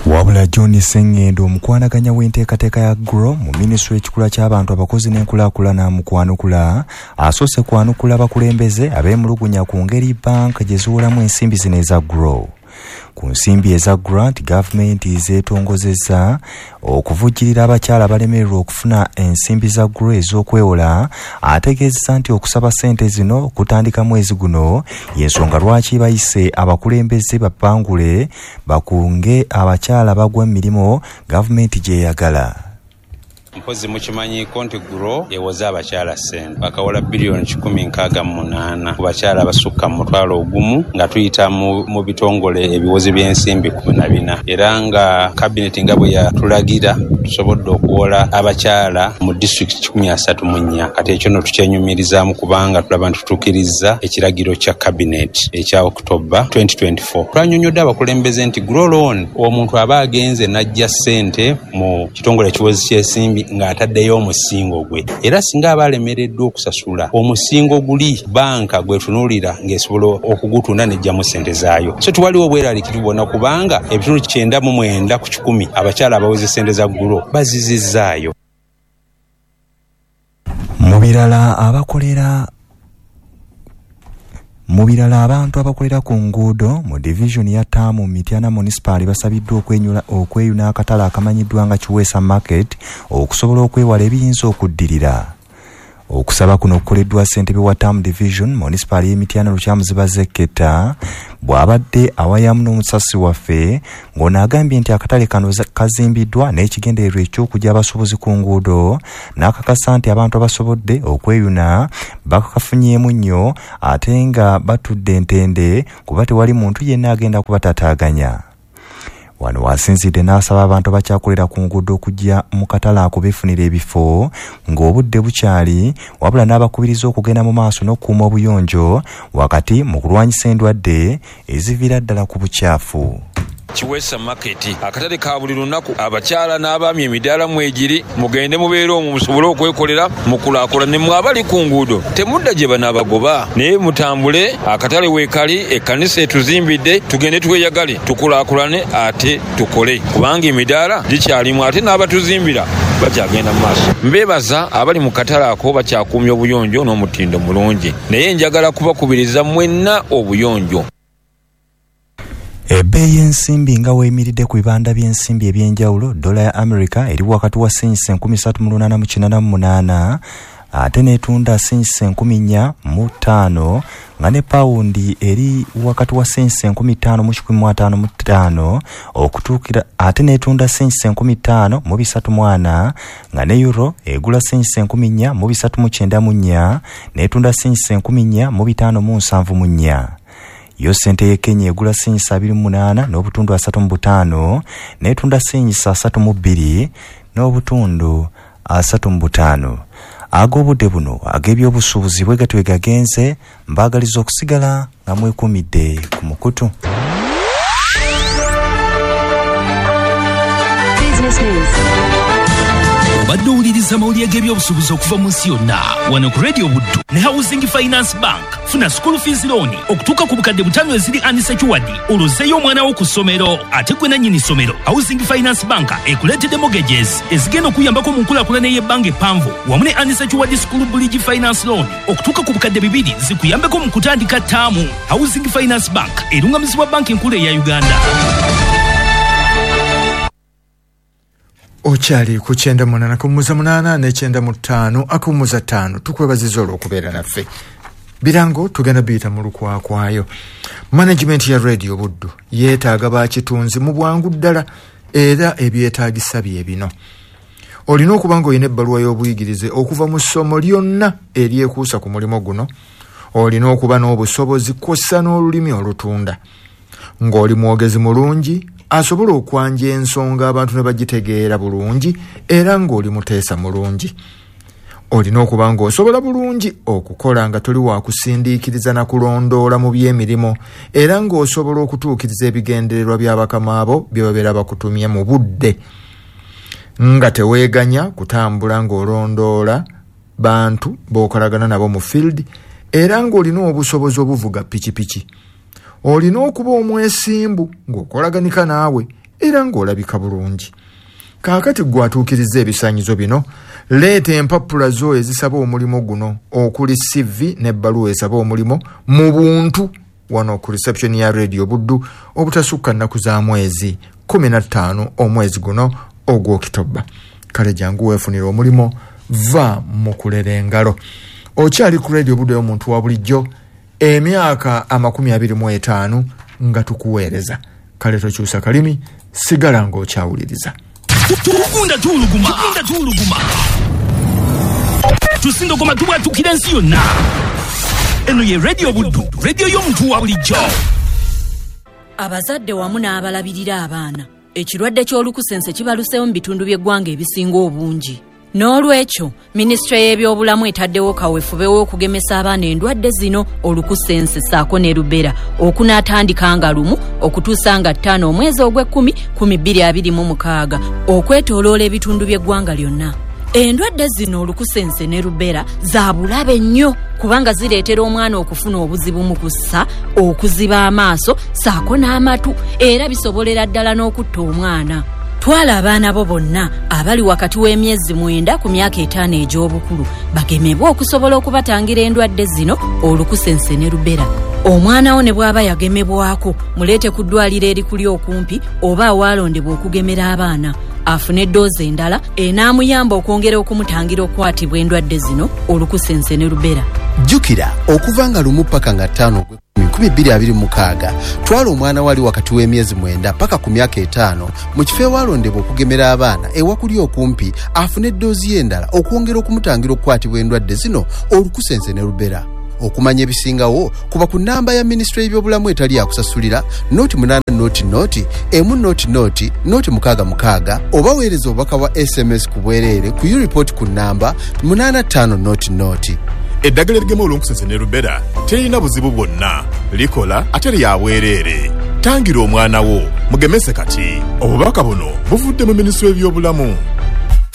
Wabula John Sengendo omukwanaganya w'enteekateeka ya Grow mu minisitule y'ekikula ky'abantu, abakozi n'enkulaakulana mu kwanukula asoose kwanukula abakulembeze abeemulugunya ku ngeri banka gye ziwolamu ensimbi zino eza Grow. Ku nsimbi eza grant gavumenti zeetongozezza okuvujjirira abakyala abalemererwa okufuna ensimbi za Grow ez'okwewola. Ategeezesa nti okusaba ssente zino kutandika mwezi guno y'ensonga lwaki bayise abakulembeze bapangule bakunge abakyala bagwa emirimu gavumenti gy'eyagala. Mpozi mukimanyiiko nti Grow ewoza abakyala ssente bakawola biliyoni kikumi nkaaga mu munaana ku bakyala abasukka mu mutwalo ogumu nga tuyita mu bitongole ebiwozi by'ensimbi kumi na bina, era nga kabineti nga bwe yatulagira tusobodde okuwola abakyala mu disitulikiti kikumi asatu mu nnya. Kati ekyo nno tukyenyumirizaamu kubanga tulaba nti tutuukirizza ekiragiro kya kabineti ekya October twenty twenty-four. Twanyonnyodde abakulembeze nti Grow loan omuntu aba agenze n'aggya ssente mu kitongole ekiwozi ky'ensimbi ng'ataddeyo omusingo gwe, era singa aba alemereddwa okusasula omusingo guli banka gwetunuulira ng'esobola okugutunda n'eggyamu ssente zaayo. So tewaliwo obweraliikirivu bwonna kubanga ebitundu kyenda mu mwenda ku kikumi abakyala abaweze ssente za Grow bazizizzaayo. Mu birala abakolera Mu birala abantu abakolera ku nguudo mu division ya Ttaamu Mityana Municipal basabiddwa okwenyula okweyuna akatale akamanyiddwa nga Kiweesa Market okusobola okwewala ebiyinza okuddirira. Okusaba kuno kukoleddwa ssentebe wa Ttaamu Division Municipal y'e Mityana Lukyamuziba Zeketa bw'abadde awayamu n'omusasi waffe ng'ono agambye nti akatale kano kazimbiddwa n'ekigendererwa eky'okuggya abasuubuzi ku nguudo n'akakasa nti abantu abasobodde okweyuna bakakafunyeemu nnyo ate nga batudde entende kuba tewali muntu yenna agenda kubatataaganya. Wano wasinzidde n'asaba abantu abakyakolera ku nguudo okujja mu katale ako beefunira ebifo ng'obudde bukyali, wabula n'abakubiriza okugenda mu maaso n'okukuuma obuyonjo wakati mu kulwanyisa endwadde eziviira ddala ku bukyafu. Kiweesa Market akatale ka buli lunaku, abakyala n'abaami emidaala mwegiri, mugende mubeere omwo musobole okwekolera mukulaakulane. Mmwe abali ku nguudo temudda gye banaabagoba, naye mutambule, akatale weekali, ekkanisa etuzimbidde, tugende tweyagale tukulaakulane ate tukole, kubanga emidaala gikyalimu ate n'abatuzimbira bakyagenda mu maaso. Mbeebaza abali mu katale ako bakyakuumya obuyonjo n'omutindo mulungi, naye njagala kubakubiriza mwenna obuyonjo. Ebbeeyi y'ensimbi nga weeyimiridde ku bibanda by'ensimbi eby'enjawulo, dola ya America eri wakati wa sense enkumi ssatu mu lunaana mu kinaana mu munaana ate n'etunda sense enkumi nnya mu ttaano, nga ne pawundi eri wakati wa sense enkumi ttaano mu kikumi mu ataano mu ttaano okutuukira ate n'etunda sense enkumi ttaano mu bisatu mu ana, nga ne euro egula sense enkumi nnya mu bisatu mu kyenda mu nnya n'etunda sense enkumi nnya mu bitaano mu nsanvu mu nnya. Yo ssente y'e Kenya egula sense abiri mu munaana n'obutundu asatu mu butaano n'etunda sense asatu mu bbiri n'obutundu asatu mu butaano. Ag'obudde buno ag'ebyobusuubuzi bwe gatyo gagenze, mbaagaliza okusigala nga mwekuumidde ku mukutu. Obadde owuliriza amawulire g'ebyobusuubuzi okuva mu nsi yonna wano ku Radio Buddu ne Housing Finance Bank. Funa school fees loan okutuuka ku bukadde butaano eziri unsecured olwozeeyo omwana wo ku ssomero ate gwe nannyini ssomero. Housing Finance Bank ekuleetedde mortgages ezigenda okuyambako mu nkulaakulana ey'ebbanga eppanvu wamu ne unsecured school bridge finance loan okutuuka ku bukadde bibiri zikuyambeko mu kutandika ttaamu. Housing Finance Bank erungamizibwa banki enkulu eya Uganda. Okyali ku kyenda munaana akawummuza munaana n'ekyenda mu ttaano akawummuza ttaano. Tukwebaziza olw'okubeera naffe. Birango tugenda biyita mu lukwakwayo. Management ya Radio Buddu yeetaaga bakitunzi mu bwangu ddala era ebyetaagisa bye bino. Olina okuba ng'olina ebbaluwa y'obuyigirize okuva mu ssomo lyonna eryekuusa ku mulimu guno. Olina okuba n'obusobozi kw'ossa n'olulimi olutunda, ng'oli mwogezi mulungi asobola okwanja ensonga abantu ne bagitegeera bulungi, era ng'oli muteesa mulungi. Olina okuba ng'osobola bulungi okukola nga toli wakusindiikiriza na kulondoola mu by'emirimu, era ng'osobola okutuukiriza ebigendererwa by'abakama abo bye babeera bakutumye mu budde, nga teweeganya kutambula ng'olondoola bantu b'okolagana nabo mu field, era ng'olina obusobozi obuvuga pikipiki. Olina okuba omwesimbu ng'okolaganika naawe era ng'olabika bulungi. Kaakati ggwe atuukiriza ebisaanyizo bino, leeta empapula zo ezisaba omulimu guno okuli C V n'ebbaluwa esaba omulimu mu buntu wano ku reception ya Radio Buddu obutasukka nnaku za mwezi kumi na ttaano omwezi guno ogw'Okitobba. Kale jangu weefunire omulimu, va mu kulera engalo. Okyali ku Radio Buddu ey'omuntu wa bulijjo emyaka amakumi abiri mu etaano nga tukuweereza. Kale tokyusa kalimi, sigala ng'okyawuliriza. Tugunda tuwuluguma, tugunda tuwuluguma, tusindogoma tubwatukira ensi yonna. Eno ye Radio Buddu, radio y'omuntu wa bulijjo. Abazadde wamu n'abalabirira abaana, ekirwadde ky'olukusense kibaluseewo mu bitundu by'eggwanga ebisinga obungi. N'olwekyo, minisitule y'ebyobulamu etaddewo kaweefube w'okugemesa abaana endwadde zino olukusense ssaako ne rubella okunaatandika nga lumu okutuusa nga ttaano omwezi ogw'ekkumi kumi bbiri abiri mu mukaaga okwetooloola ebitundu by'eggwanga lyonna. Endwadde zino olukusense ne rubella za bulabe nnyo kubanga zireetera omwana okufuna obuzibu mu kussa, okuziba amaaso ssaako n'amatu, era bisobolera ddala n'okutta omwana. Twala abaana bo bonna abali wakati w'emyezi mwenda ku myaka etaano egy'obukulu bagemebwe okusobola okubatangira endwadde zino olukusense ne rubella. Omwana wo ne bw'aba yagemebwako muleete ku ddwaliro erikuli okumpi oba awalondebwa okugemera abaana afune eddoozi endala enaamuyamba okwongera okumutangira okukwatibwa endwadde zino olukusense ne rubella. Jjukira okuva nga lumu paka nga ttaano nkumi bbiri abiri mu mukaaga twala omwana wali wakati w'emyezi mwenda paka ku myaka etaano mu kifo ewalondebwa okugemera abaana ewakuli okumpi afune eddoozi ye endala okwongera okumutangira okukwatibwa endwadde zino olukusense ne rubella. Okumanya ebisingawo kuba ku nnamba ya minisitule y'ebyobulamu etali yakusasulira noti munaana noti noti emu noti noti noti mukaaga mukaaga oba weereza obubaka bwa S M S ku bwereere ku ureport ku nnamba munaana ttaano noti noti. Eddagala erigema olunkusense ne rubella terina buzibu bwonna, likola ate lya bwereere. Tangira omwana wo, mugemese kati. Obubaka buno buvudde mu minisitule y'ebyobulamu.